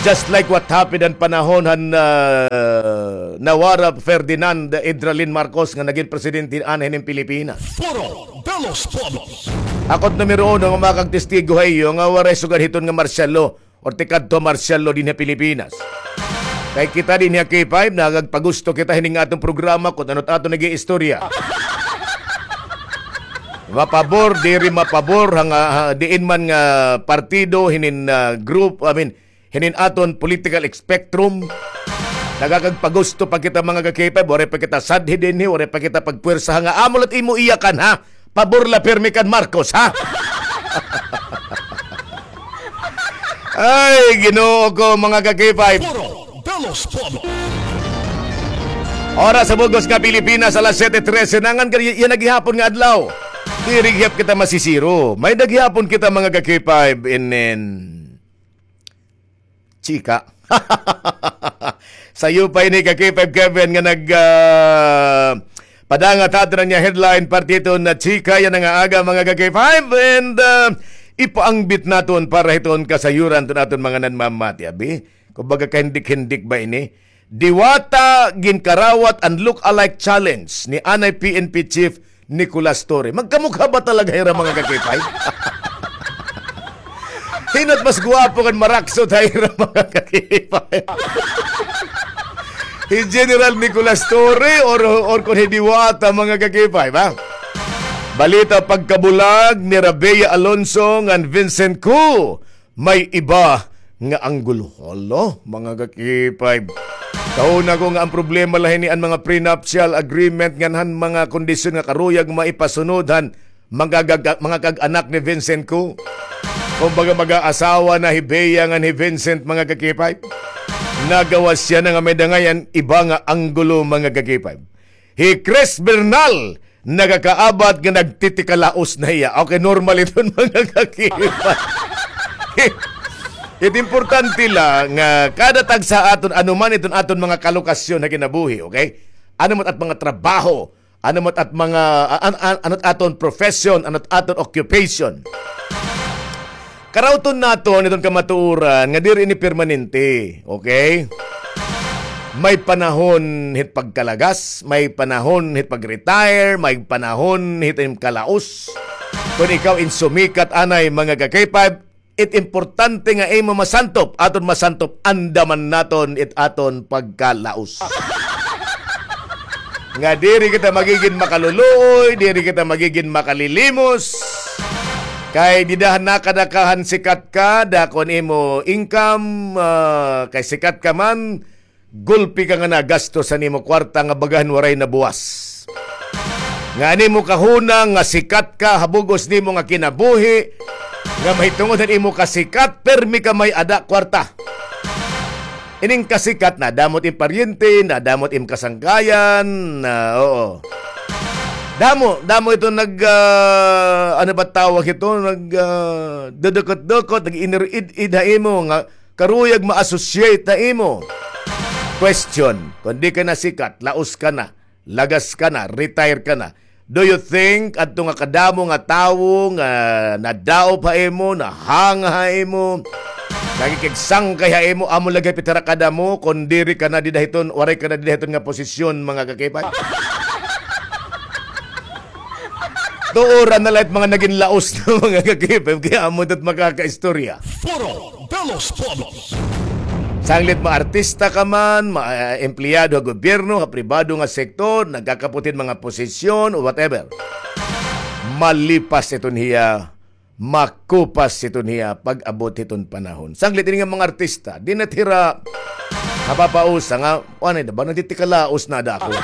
Just like what happened han panahon han, ah, nawara Ferdinand Idralin Marcos nga nagin presidente anay hinin Pilipinas. Foro de los Pueblos. Ako it numero uno nga makagtestigo ha iyo nga waray sugad hiton nga martial law or tikadto martial law dinhi ha Pilipinas. Kay kita dinhi ha K five, nagagpagusto kita hining aton programa kon ano it aton nag-iistorya. Mapabor, diri mapabor, ha nga, ha, diin man nga partido, hinin, ah, group, I mean, hinin aton political spectrum. Nagakagpagusto pa kita, mga ka-K five, waray pa kita sadhi dinhi, waray pa kita pagpuwersa, ha nga amo la it imo iyakan, ha? Pabor la pirmi kan Marcos, ha? Ay, Ginoo ko, mga ka-K five. Foro de los Pueblos. Oras sa bug-os nga Pilipinas, alas siyete trese na, ngan kay yana gihapon nga adlaw. Diri gihap kita masisiro. May-ada gihapon kita, mga ka-K five, inin chika. Sayo pa ini ka-K five Kevin nga nag, ah, padangat ha aton nga headline parte hiton nga chika yana nga aga, mga ka-K five, and, ah, ipaangbit naton para hiton kasayuran hiton aton mga nanmamati, abi. Kumbaga, kahindik-hindik ba ini? Diwata ginkarawat an look-alike challenge ni anay P N P Chief Nicolas Torre. Magkamukha ba talaga hira, mga ka-K five? Hin-o it mas gwapo ngan maraksot ha ira, mga ka-K five? Hi General Nicolas Torre or, or kon hi Diwata, mga ka-K five, ha? Balita pagkabulag nira Bea Alonzo ngan Vincent Koo. May iba nga anggulo. Hala, mga ka-K five. Kahuna ko nga an problema la hini an mga prenuptial agreement ngan han mga kondisyon nga karuyag maipasunod han mga, mga kag-anak ni Vincent Koo. Kumbaga, mag-aasawa na hi Bea ngan hi Vincent, mga ka-K five. Nagawas yana nga may-ada ngay-an iba nga anggulo, mga ka-K five. Hi Chris Bernal, nakakaabat nga nagtitikalaos na hiya. Okay, normal iton, mga ka-K five. It importante la nga kada tagsa aton, ano man iton aton mga kalokasyon ha kinabuhi, okay? Ano man it mga trabaho, ano man it mga, a-, an-, an-, ano it aton profession, ano it aton occupation. Karawton naton iton kamatuoran nga diri ini permanente, okay? May panahon hit pagkalagas, may panahon hit pag-retire, may panahon hit im kalaos. Kon ikaw in sumikat anay, mga ka-K five, it importante nga imo masantop, aton masantop, andaman naton it aton pagkalaos. Nga diri kita magigin makaluluoy, diri kita magigin makalilimos. Kay dida han nakadakahan sikat ka, dako an imo income, ah, kay sikat ka man, gulpi ka nga nagastos an imo kwarta nga baga han waray nabuwas. Nga an imo kahuna nga sikat ka ha bug-os nimo nga kinabuhi, nga mahitungod han imo kasikat, pirmi ka may-ada kwarta. Ining kasikat, nadamo it im paryente, nadamo it im kasangkayan, na, oo. Damo, damo ito nag, ah, ano ba tawag ito? Nag, ah, dudukot-dukot, nag-inirid-id ha imo nga karuyag ma-associate ha imo. Question, kon di ka na sikat, laos ka na, lagas ka na, retire ka na, do you think adto nga kadamo nga tawo nga nadaop ha imo, nahanga ha imo, nakikigsangkay ha imo, amo la gihap it hira kadamo, kon diri ka na dida hiton, waray ka na dida hiton nga posisyon, mga ka-K five? Tuoran na la it mga nagin laos na, mga ka-K five, kay amo it makakaistorya. Foro de los Pueblos. Sanglit maartista ka man, ma-, eh, empleyado ha gobyerno, ha pribado nga sektor, nagkakapot hin mga posisyon o whatever. Malipas iton hiya, makupas iton hiya pag-abot hiton panahon. Sanglit ini nga mga artista, di na it hira mapapausa nga, ano na ba, nagtitikalaos na ada ako.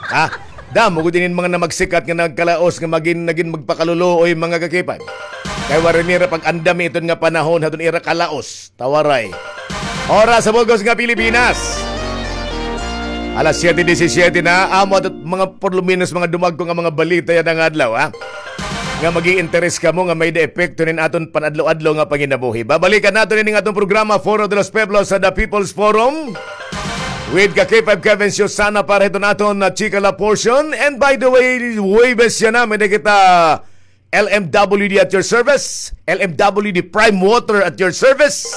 Ha? Damo gud inin mga namagsikat nga nagkalaos nga magin, nagin magpakaluluoy, mga ka-K five. Kay waray nira pag-andami iton nga panahon hadton ira kalaos. Tawaray. Oras sa bug-os nga Pilipinas. Alas siyete disisiyete na, amo adto mga por lo menos mga dumagko nga mga balita yana nga adlaw, ha? nga mag-i-interes kamo nga may-ada epekto nin aton pan-adlaw-adlaw nga panginabuhi. Babalikan naton ini nga aton programa, Foro de los Pueblos, sa The People's Forum. With ka K five Kevin Susana para hiton aton na chika la portion. And by the way, Huwebes yana, may-ada kita L M W D at your service. L M W D Prime Water at your service.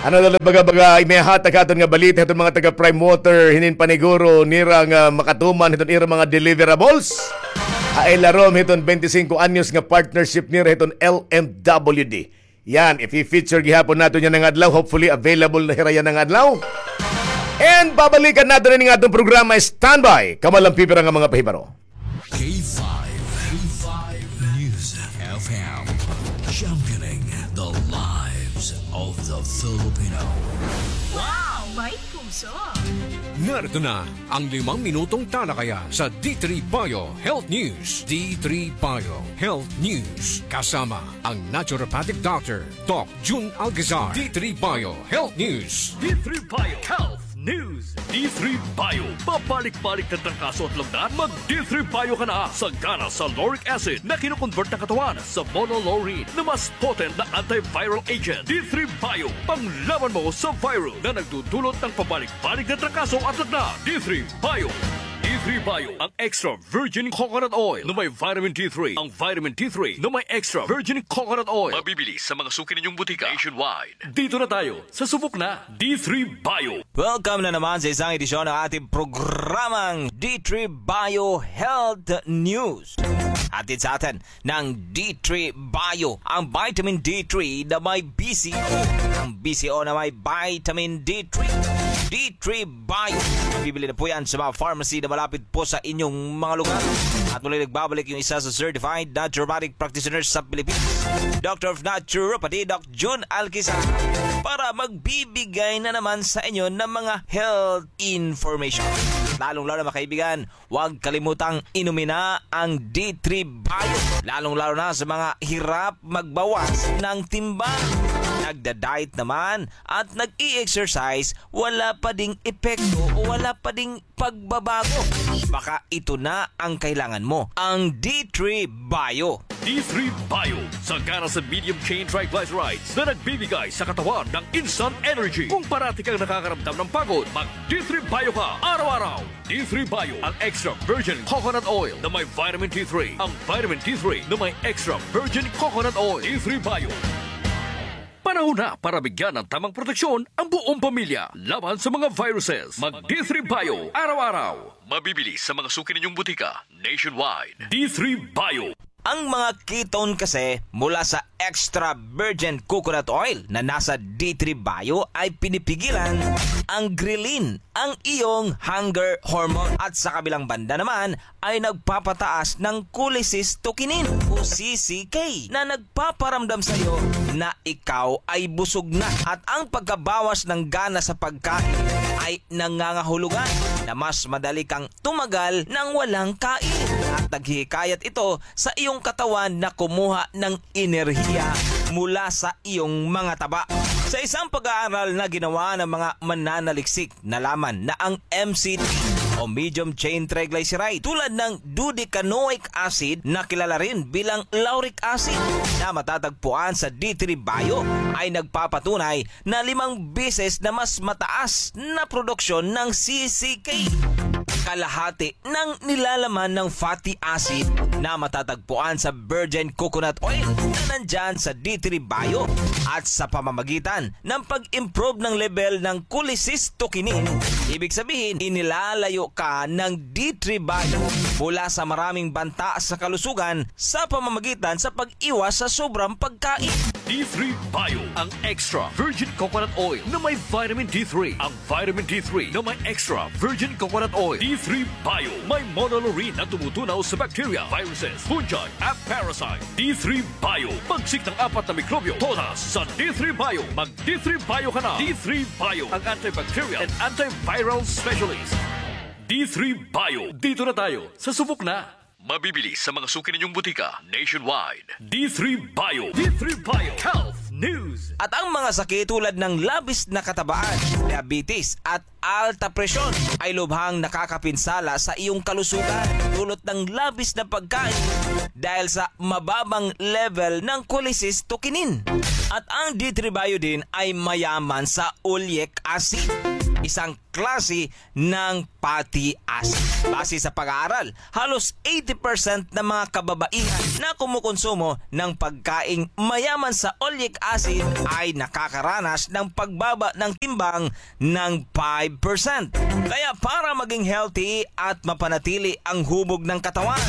Ano na la baga-baga, may hatag ha aton nga balita hiton mga taga Prime Water, hinin paniguro nira nga makatuman hiton ira mga deliverables. Ay larom hiton twenty-five anyos nga partnership nira hiton L M W D. Yan, ifi-feature gihapon naton yana nga adlaw. Hopefully, available na hira yana nga adlaw. And babalikan naton ini nga aton programa. Standby. Kamo la an pipira nga mga pahibaro. K five, K five News F M, championing the lives of the Filipino. Wow! May puso! Narito na ang limang minutong talakayan sa D three Bio Health News. D three Bio Health News. Kasama ang naturopathic doctor, Doc Jun Alcazar. D three Bio Health News. D three Bio Health News. D three Bio. Pabalik-balik na trangkaso at lugdan? Mag D three Bio ka na. Sagana sa lauric acid na kinoconvert ng katawan sa monolaurin na mas potent na antiviral agent. D three Bio. Panglaban mo sa virus na nagdudulot ng pabalik-balik na trangkaso at lagnat. D three Bio. D three Bio. Ang extra virgin coconut oil na may vitamin D three. Ang vitamin D three na may extra virgin coconut oil. Mabibili sa mga suki ninyong butika nationwide. Dito na tayo sa subok na D three Bio. Welcome na naman sa isang edisyon ng ating programang D three Bio Health News. Hatid sa atin ng D three Bio, ang vitamin D three na may B C O. Ang B C O na may vitamin D three. D three Bio. Bibili na po yan sa mga pharmacy na malapit po sa inyong mga lugar. At muli nagbabalik yung isa sa certified naturopathic practitioners sa Pilipinas, Doctor of Naturopathy, Doc Jun Alcazar, para magbibigay na naman sa inyo ng mga health information. Lalong-lalo na, mga kaibigan, huwag kalimutang inumin na ang D three Bio, lalong-lalo na sa mga hirap magbawas ng timbang. Nagda-diet naman at nag-i-exercise, wala pa ding epekto o wala pa ding pagbabago. Baka ito na ang kailangan mo, ang D three Bio. D three Bio, sagana sa medium chain triglycerides na nagbibigay sa katawan ng instant energy. Kung parati kang nakakaramdam ng pagod, mag D three Bio ka araw-araw. D three Bio, ang extra virgin coconut oil na may vitamin D three. Ang vitamin D three na may extra virgin coconut oil. D three Bio. Panahon na para bigyan ng tamang proteksyon ang buong pamilya laban sa mga viruses. Mag D three Bio araw-araw. Mabibili sa mga suki ninyong butika nationwide. D three Bio. Ang mga ketone kasi mula sa extra virgin coconut oil na nasa D three Bio ay pinipigilan ang ghrelin, ang iyong hunger hormone. At sa kabilang banda naman ay nagpapataas ng cholecystokinin o C C K na nagpaparamdam sa iyo na ikaw ay busog na. At ang pagkabawas ng gana sa pagkain ay nangangahulugan na mas madali kang tumagal nang walang kain. At naghihikayat ito sa iyong katawan na kumuha ng enerhiya mula sa iyong mga taba. Sa isang pag-aaral na ginawa ng mga mananaliksik, nalaman na ang M C T o medium chain triglyceride, tulad ng dodecanoic acid na kilala rin bilang lauric acid na matatagpuan sa D three Bio, ay nagpapatunay na limang beses na mas mataas na produksyon ng C C K, kalahati ng nilalaman ng fatty acid na matatagpuan sa virgin coconut oil na nandyan sa D three Bio. At sa pamamagitan ng pag-improve ng level ng cholecystokinin, ibig sabihin, inilalayo ka ng D three Bio mula sa maraming banta sa kalusugan sa pamamagitan sa pag-iwas sa sobrang pagkain. D three Bio, ang extra virgin coconut oil na may vitamin D three. Ang vitamin D three na may extra virgin coconut oil. D three Bio, may monolaurin na tumutunaw sa bacteria, viruses, fungi, at parasite. D three Bio, bagsik ng apat na mikrobyo, todas sa D three Bio. Mag D three Bio ka na. D three Bio, ang antibacterial and antiviral specialist. D three Bio, dito na tayo sa subok na. Mabibili sa mga suki ninyong butika nationwide. D three Bio. D three Bio Health News. At ang mga sakit tulad ng labis na katabaan, diabetes, at alta presyon ay lubhang nakakapinsala sa iyong kalusugan dulot ng labis na pagkain dahil sa mababang level ng cholecystokinin. At ang D three Bio din ay mayaman sa oleic acid, isang klase ng fatty acid. Base sa pag-aaral, halos eighty percent ng mga kababaihan na kumukonsumo ng pagkaing mayaman sa oleic acid ay nakakaranas ng pagbaba ng timbang ng five percent. Kaya para maging healthy at mapanatili ang hubog ng katawan,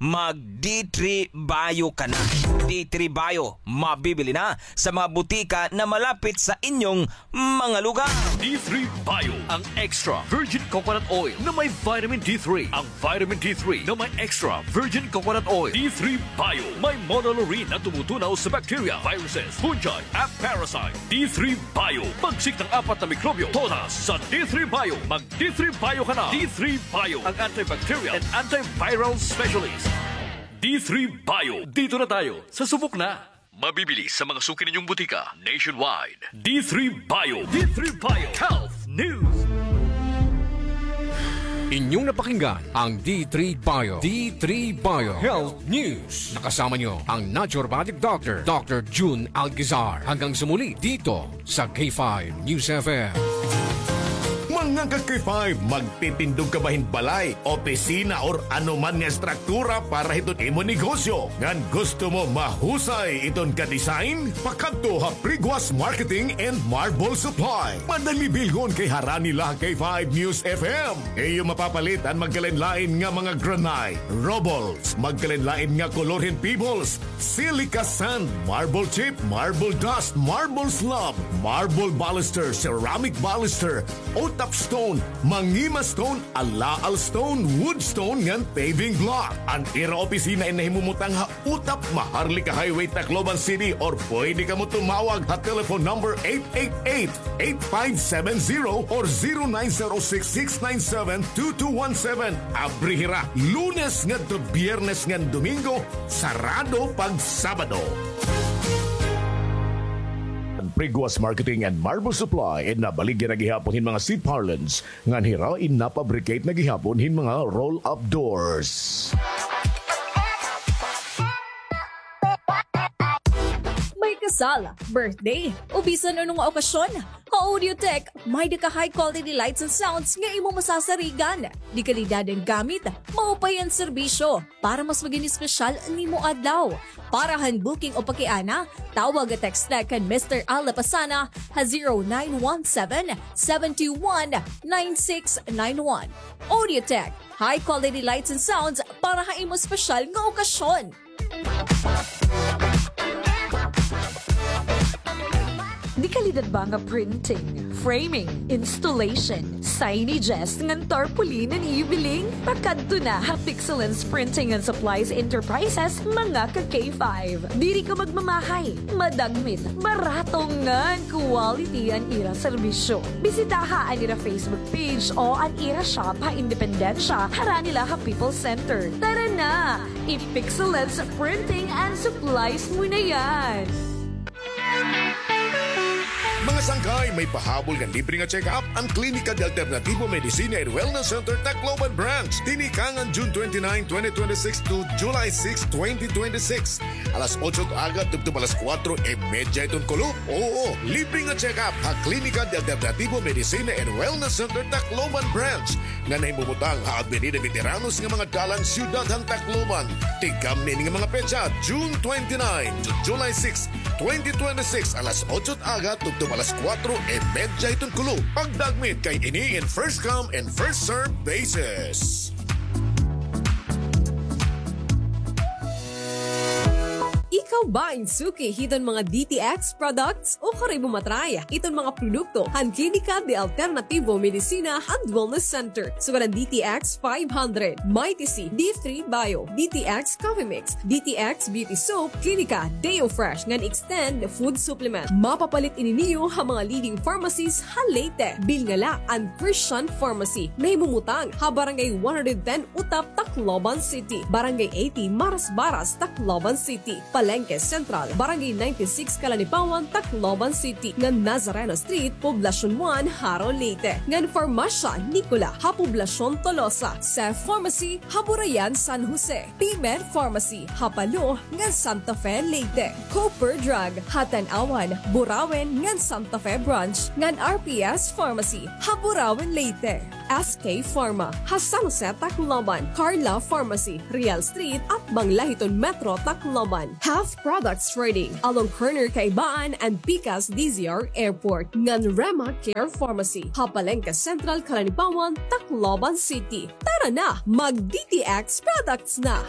mag D three Bio ka na. D three Bio, mabibili na sa mga butika na malapit sa inyong mga lugar. D three Bio, ang extra virgin coconut oil na may vitamin D three. Ang vitamin D three na may extra virgin coconut oil. D three Bio, may monolaurin na tumutunaw sa bacteria, viruses, fungi, at parasite. D three Bio, pagsik ng apat na mikrobyo, todas sa D three Bio. Mag D three Bio ka na. D three Bio, ang antibacterial and antiviral specialist. D three Bio, dito na tayo, sa subok na. Mabibili sa mga suki ninyong butika nationwide. D three Bio. D three Bio. Health News. Inyong napakinggan ang D three Bio. D three Bio Health News. Nakasama nyo ang naturopathic doctor, Doctor Jun Algizar. Hanggang sa muli dito sa K five News F M. Mga ka-K five, magtitindog ka ba hin balay, opisina, or ano man nga estruktura para hiton imo negosyo? Ngan gusto mo mahusay iton ka-design? Pakadto ha Priguas Marketing and Marble Supply. Madali bilhon kay harani la ha K five News F M. Iyo mapapalit an magkalain-lain nga mga granite, rubbles, magkalain-lain nga kolor hin pebbles, silica sand, marble chip, marble dust, marble slab, marble baluster, ceramic baluster, utap stone, mangima stone, alaal stone, wood stone, ngan paving block. An ira opisina in nahimumutang ha Utap, Maharlika Highway, Tacloban City, or pwede kamo tumawag ha telephone number eight eight eight, eight five seven zero or zero nine zero six, six nine seven, two two one seven. Abri hira Lunes ngadto Biyernes ngan Domingo, sarado pag Sabado. An Priguas Marketing and Marble Supply in nabaligya na gihapon hin mga seat parlance ngan hira in napabricate na gihapon hin mga roll-up doors. May kasal, birthday, o bisan ano nga okasyon, ha Audiotech, may-ada ka high quality lights and sounds nga imo masasarigan. Dekalidad an gamit, maupay an serbisyo, para mas magin espesyal an imo adlaw. Para han booking o pakiana, tawag o text la kan Mister Al Lapasana ha zero nine one seven, seven two one, nine six nine one. Audiotech, high quality lights and sounds para ha imo espesyal nga okasyon. Dekalidad ba nga printing, framing, installation, signages, ngan tarpaulin an iyo biling? Pakadto na ha Pixelance Printing and Supplies Enterprises, mga ka-K five. Diri ka magmamahay, madagmit, barato ngan quality an ira serbisyo. Bisitaha an ira Facebook page o an ira shop ha Independencia, harani la ha People's Center. Tara na! I-Pixelance Printing and Supplies mo na yan! Mga sangkay, may pahabol nga libre nga check-up an Klinika de Alternativo Medicina and Wellness Center, Tacloban Branch. Tinikangan June twenty-nine, twenty twenty-six to July six, twenty twenty-six. Alas otso it aga tubtob alas kuwatro e medya iton kulop. Oo, libre nga check-up ha Klinika de Alternativo Medicina and Wellness Center, Tacloban Branch, nga nahimumutang ha Avenida Veteranos nga mga dalan, Siyudad han Tacloban. Tigkamni ini nga mga petsa, June twenty-nine to July six, twenty twenty-six, alas otso it aga tubtob alas kuwatro e medya iton kulop. Pagdagmit kay ini in first come and first serve basis. Ikaw ba in suki hiton mga D T X products? Ukon imo ma-try iton mga produkto han Klinika de Alternativo Medicina and Wellness Center. Sugad an D T X five hundred, Mighty C, D three Bio, D T X Coffee Mix, D T X Beauty Soap, Klinika Deo Fresh ngan Extend Food Supplement. Mapapalit ini niyo ha mga leading pharmacies ha Leyte. Bilnga la an Christian Pharmacy, nahimumutang ha Barangay one hundred ten Utap, Tacloban City, Barangay eighty Marasbaras, Tacloban City, Palengke Central, Barangay ninety-six, Calanipawan, Tacloban City, ngan Nazareno Street, Poblacion one, Jaro, Leyte, ngan Farmacia Nicola ha Poblacion Tolosa, Cef Pharmacy ha Burayan, San Jose, P-Med Pharmacy ha Palo ngan Santa Fe, Leyte, Cooper Drug ha Tanauan, Burauen ngan Santa Fe Branch, ngan R P S Pharmacy ha Burauen, Leyte, S K Pharma ha San Jose, Tacloban, Carla Pharmacy, Real Street, atbang la hiton Metro Tacloban, Half Products Trading along corner Kaibaan and Pikas D Z R Airport, ngan Rema Care Pharmacy ha Palengke Central, Calanipawan, Tacloban City. Tara na, mag D T X products na!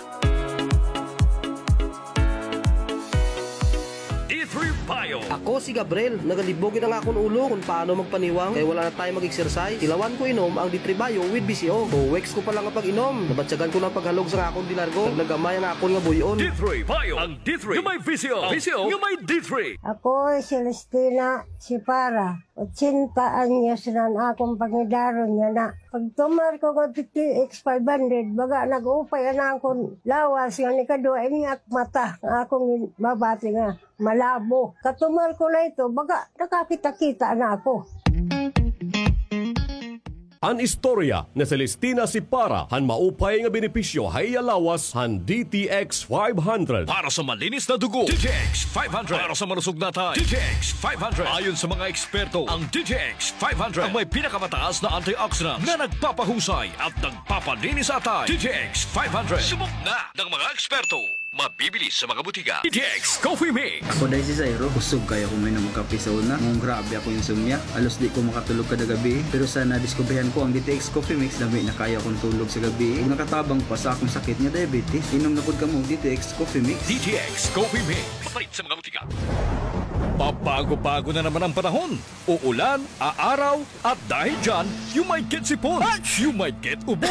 D three Bio. Ako si Gabriel. Nagalibog gid an akon ulo kon paano magpaniwang kay wala na time mag-exercise. Tilawan ko inom ang D three Bio with V C O. Two weeks ko pa la nga pag-inom, nabatyagan ko na an paghalog sa akon dinargo. Naglagamay an akon nga buy-on. D three Bio, ang D three nga may V C O. V C O nga may D three. Ako si Celestina Sipara. Ochenta anyos na an akon pangidaron yana. Pagtumar ko nga D T X five hundred, baga nag-upay an akon lawas, ngan ikaduha, ini ak mata nga akon babati nga malabo. Katumar ko na ito, baga nakakita-kita na ako. An istorya ni Celestina Sipara han maupay nga benepisyo ha iya lawas han D T X five hundred. Para sa malinis na dugo, D T X five hundred. Para sa malusog na atay, D T X five hundred. Ayon sa mga eksperto, ang D T X five hundred ang may pinakamataas na antioxidants na nagpapahusay at nagpapalinis sa atay. D T X five hundred. Subok na ng mga eksperto. Mabibili sa mga butika. D T X Coffee Mix. Ako dai si Zairo, kusog kaayo ako mainom og kape sa una. Ngan grabe ako insomnia. Halos di ko makatulog kada gabii. Pero sa nadiskubrihan ko ang D T X Coffee Mix, lami na kaayo akon tulog sa gabii. Ug nakatabang pa sa akon sakit nga diabetes. Inom na pod kamo og D T X Coffee Mix. D T X Coffee Mix. Mapalit sa mga butika. Pabago-bago na naman ang panahon. Uulan, aaraw, at dahil dyan, you might get sipon, you might get ubo,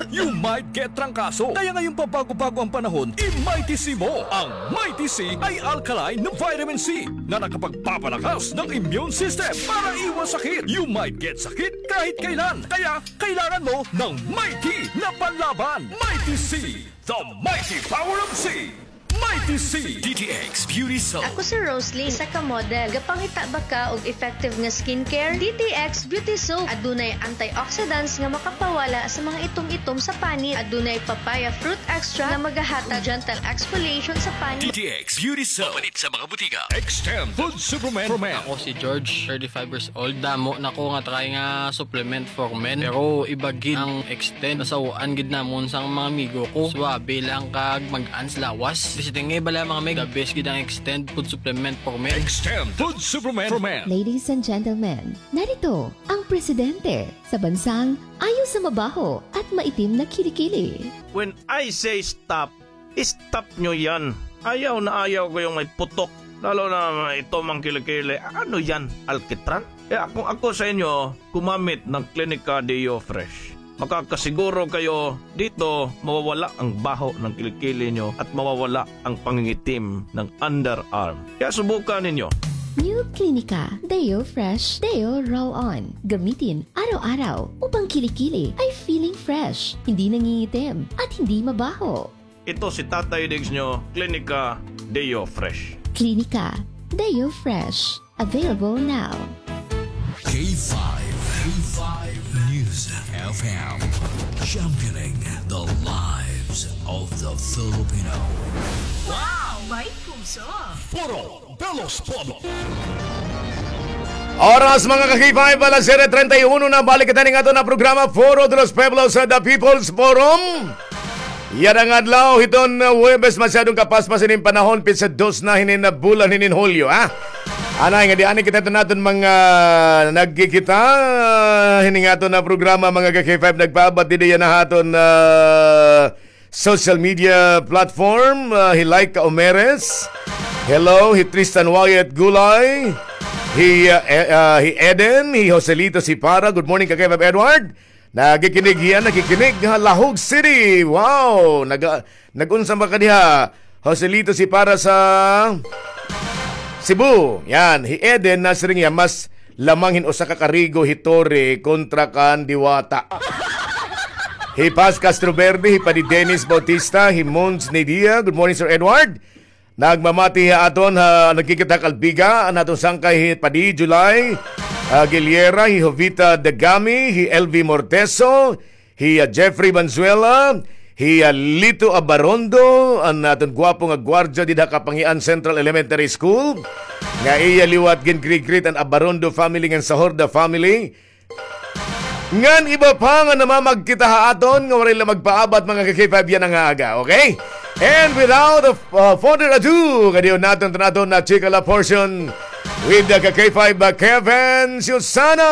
you might get trangkaso. Kaya ngayong pabago-bago ang panahon, i-Mighty C mo. Ang Mighty C ay alkaline na vitamin C na nakapagpapalakas ng immune system para iwas sakit. You might get sakit kahit kailan. Kaya kailangan mo ng Mighty na panlaban. Mighty C, the mighty power of C. Mighty C. D T X Beauty Soap. Ako si Roslyn, isa ka model. Gapangita ba ka og effective nga skincare? D T X Beauty Soap. Adunay antioxidants nga makapawala sa mga itom-itom sa panit. Adunay papaya fruit extract nga magahatag gentle exfoliation sa panit. D T X Beauty Soap. Mapalit sa mga butika. Extend Food Supplement for Men. Ako si George, thirty-five years old. Damo na ko nga try nga supplement for men. Pero iba gid ang Extend. Nasaw-an gid namon sang mga amigo ko. Suabe lang kag mag-ans lawas. Di siya tingay bala, mga meg. The best gid ang Extend food supplement for men. Extend food supplement for men. Ladies and gentlemen, narito ang presidente sa bansang ayaw sa mabaho at maitim na kilikili. When I say stop, stop nyo yan. Ayaw na ayaw ko yung may putok. Lalo na may itom ang kilikili. Ano yan? Alkitran? Kaya kung ako sa inyo, gumamit ng Clinica Deo Fresh. Makakasiguro kayo dito, mawawala ang baho ng kilikili nyo at mawawala ang pangingitim ng underarm. Kaya subukan ninyo. New Clinica Deo Fresh Deo Roll-On. Gamitin araw-araw upang kilikili ay feeling fresh, hindi nangingitim, at hindi mabaho. Ito si Tatay Diggs nyo, Clinica Deo Fresh. Clinica Deo Fresh. Available now. K five, K five News F M, championing the lives of the Filipino. Wow! May puso! Foro de los Pueblos. Oras, mga ka-K five, alas siyete treinta y uno na. Balik kita ning aton na programa, Foro de los Pueblos, sa The People's Forum. Yana nga adlaw hiton, uh, Huwebes, masyadong kapaspas ining panahon, pitsa dos na hinin na bulan hinin Hulyo, ha? Anay nga di ani kita iton aton mga nagkikita, uh, hining aton na programa, mga ka-K five, nagpaabat didi yana ha aton, uh, social media platform, uh, hi Laika Omeres. Hello, hi Tristan Wyatt Gulay. Hi, uh, E-, uh, hi Eden, hi Joselito Sipara. Good morning, ka-K five Edward. Nakikinig hiya, nakikinig ha Lahug City. Wow! Nag-, nag-unsa ba ka diha? Joselito Sipara sa Cebu. Yan, hi Eden nasiring hiya, mas lamang hin usa ka karigo hi Torre kontra kan Diwata. Hi Paz Castroverde, hi Padi Dennis Bautista, hi Mons Nidia. Good morning, Sir Edward. Nagmamati ha aton ha nagkikita Kalbiga, an aton sangkay hi Padi July, ah, Giliera, hi Jovita Dagami, hi L V Morteso, hi, ah, Jeffrey Banzuela, hi, ah, Lito Abarondo, an aton gwapo nga gwardya dida Kapangian Central Elementary School. Nga iya liwat gin-greet-greet an Abarondo family ngan Sahorda family. Ngan iba pa nga namamagkita ha aton nga waray la magpaabat, mga ka-K five, yana nga aga, okay? And without, uh, further ado, kadiyon naton tan aton na chika la portion with the ka-K five, uh, Kevin Susana.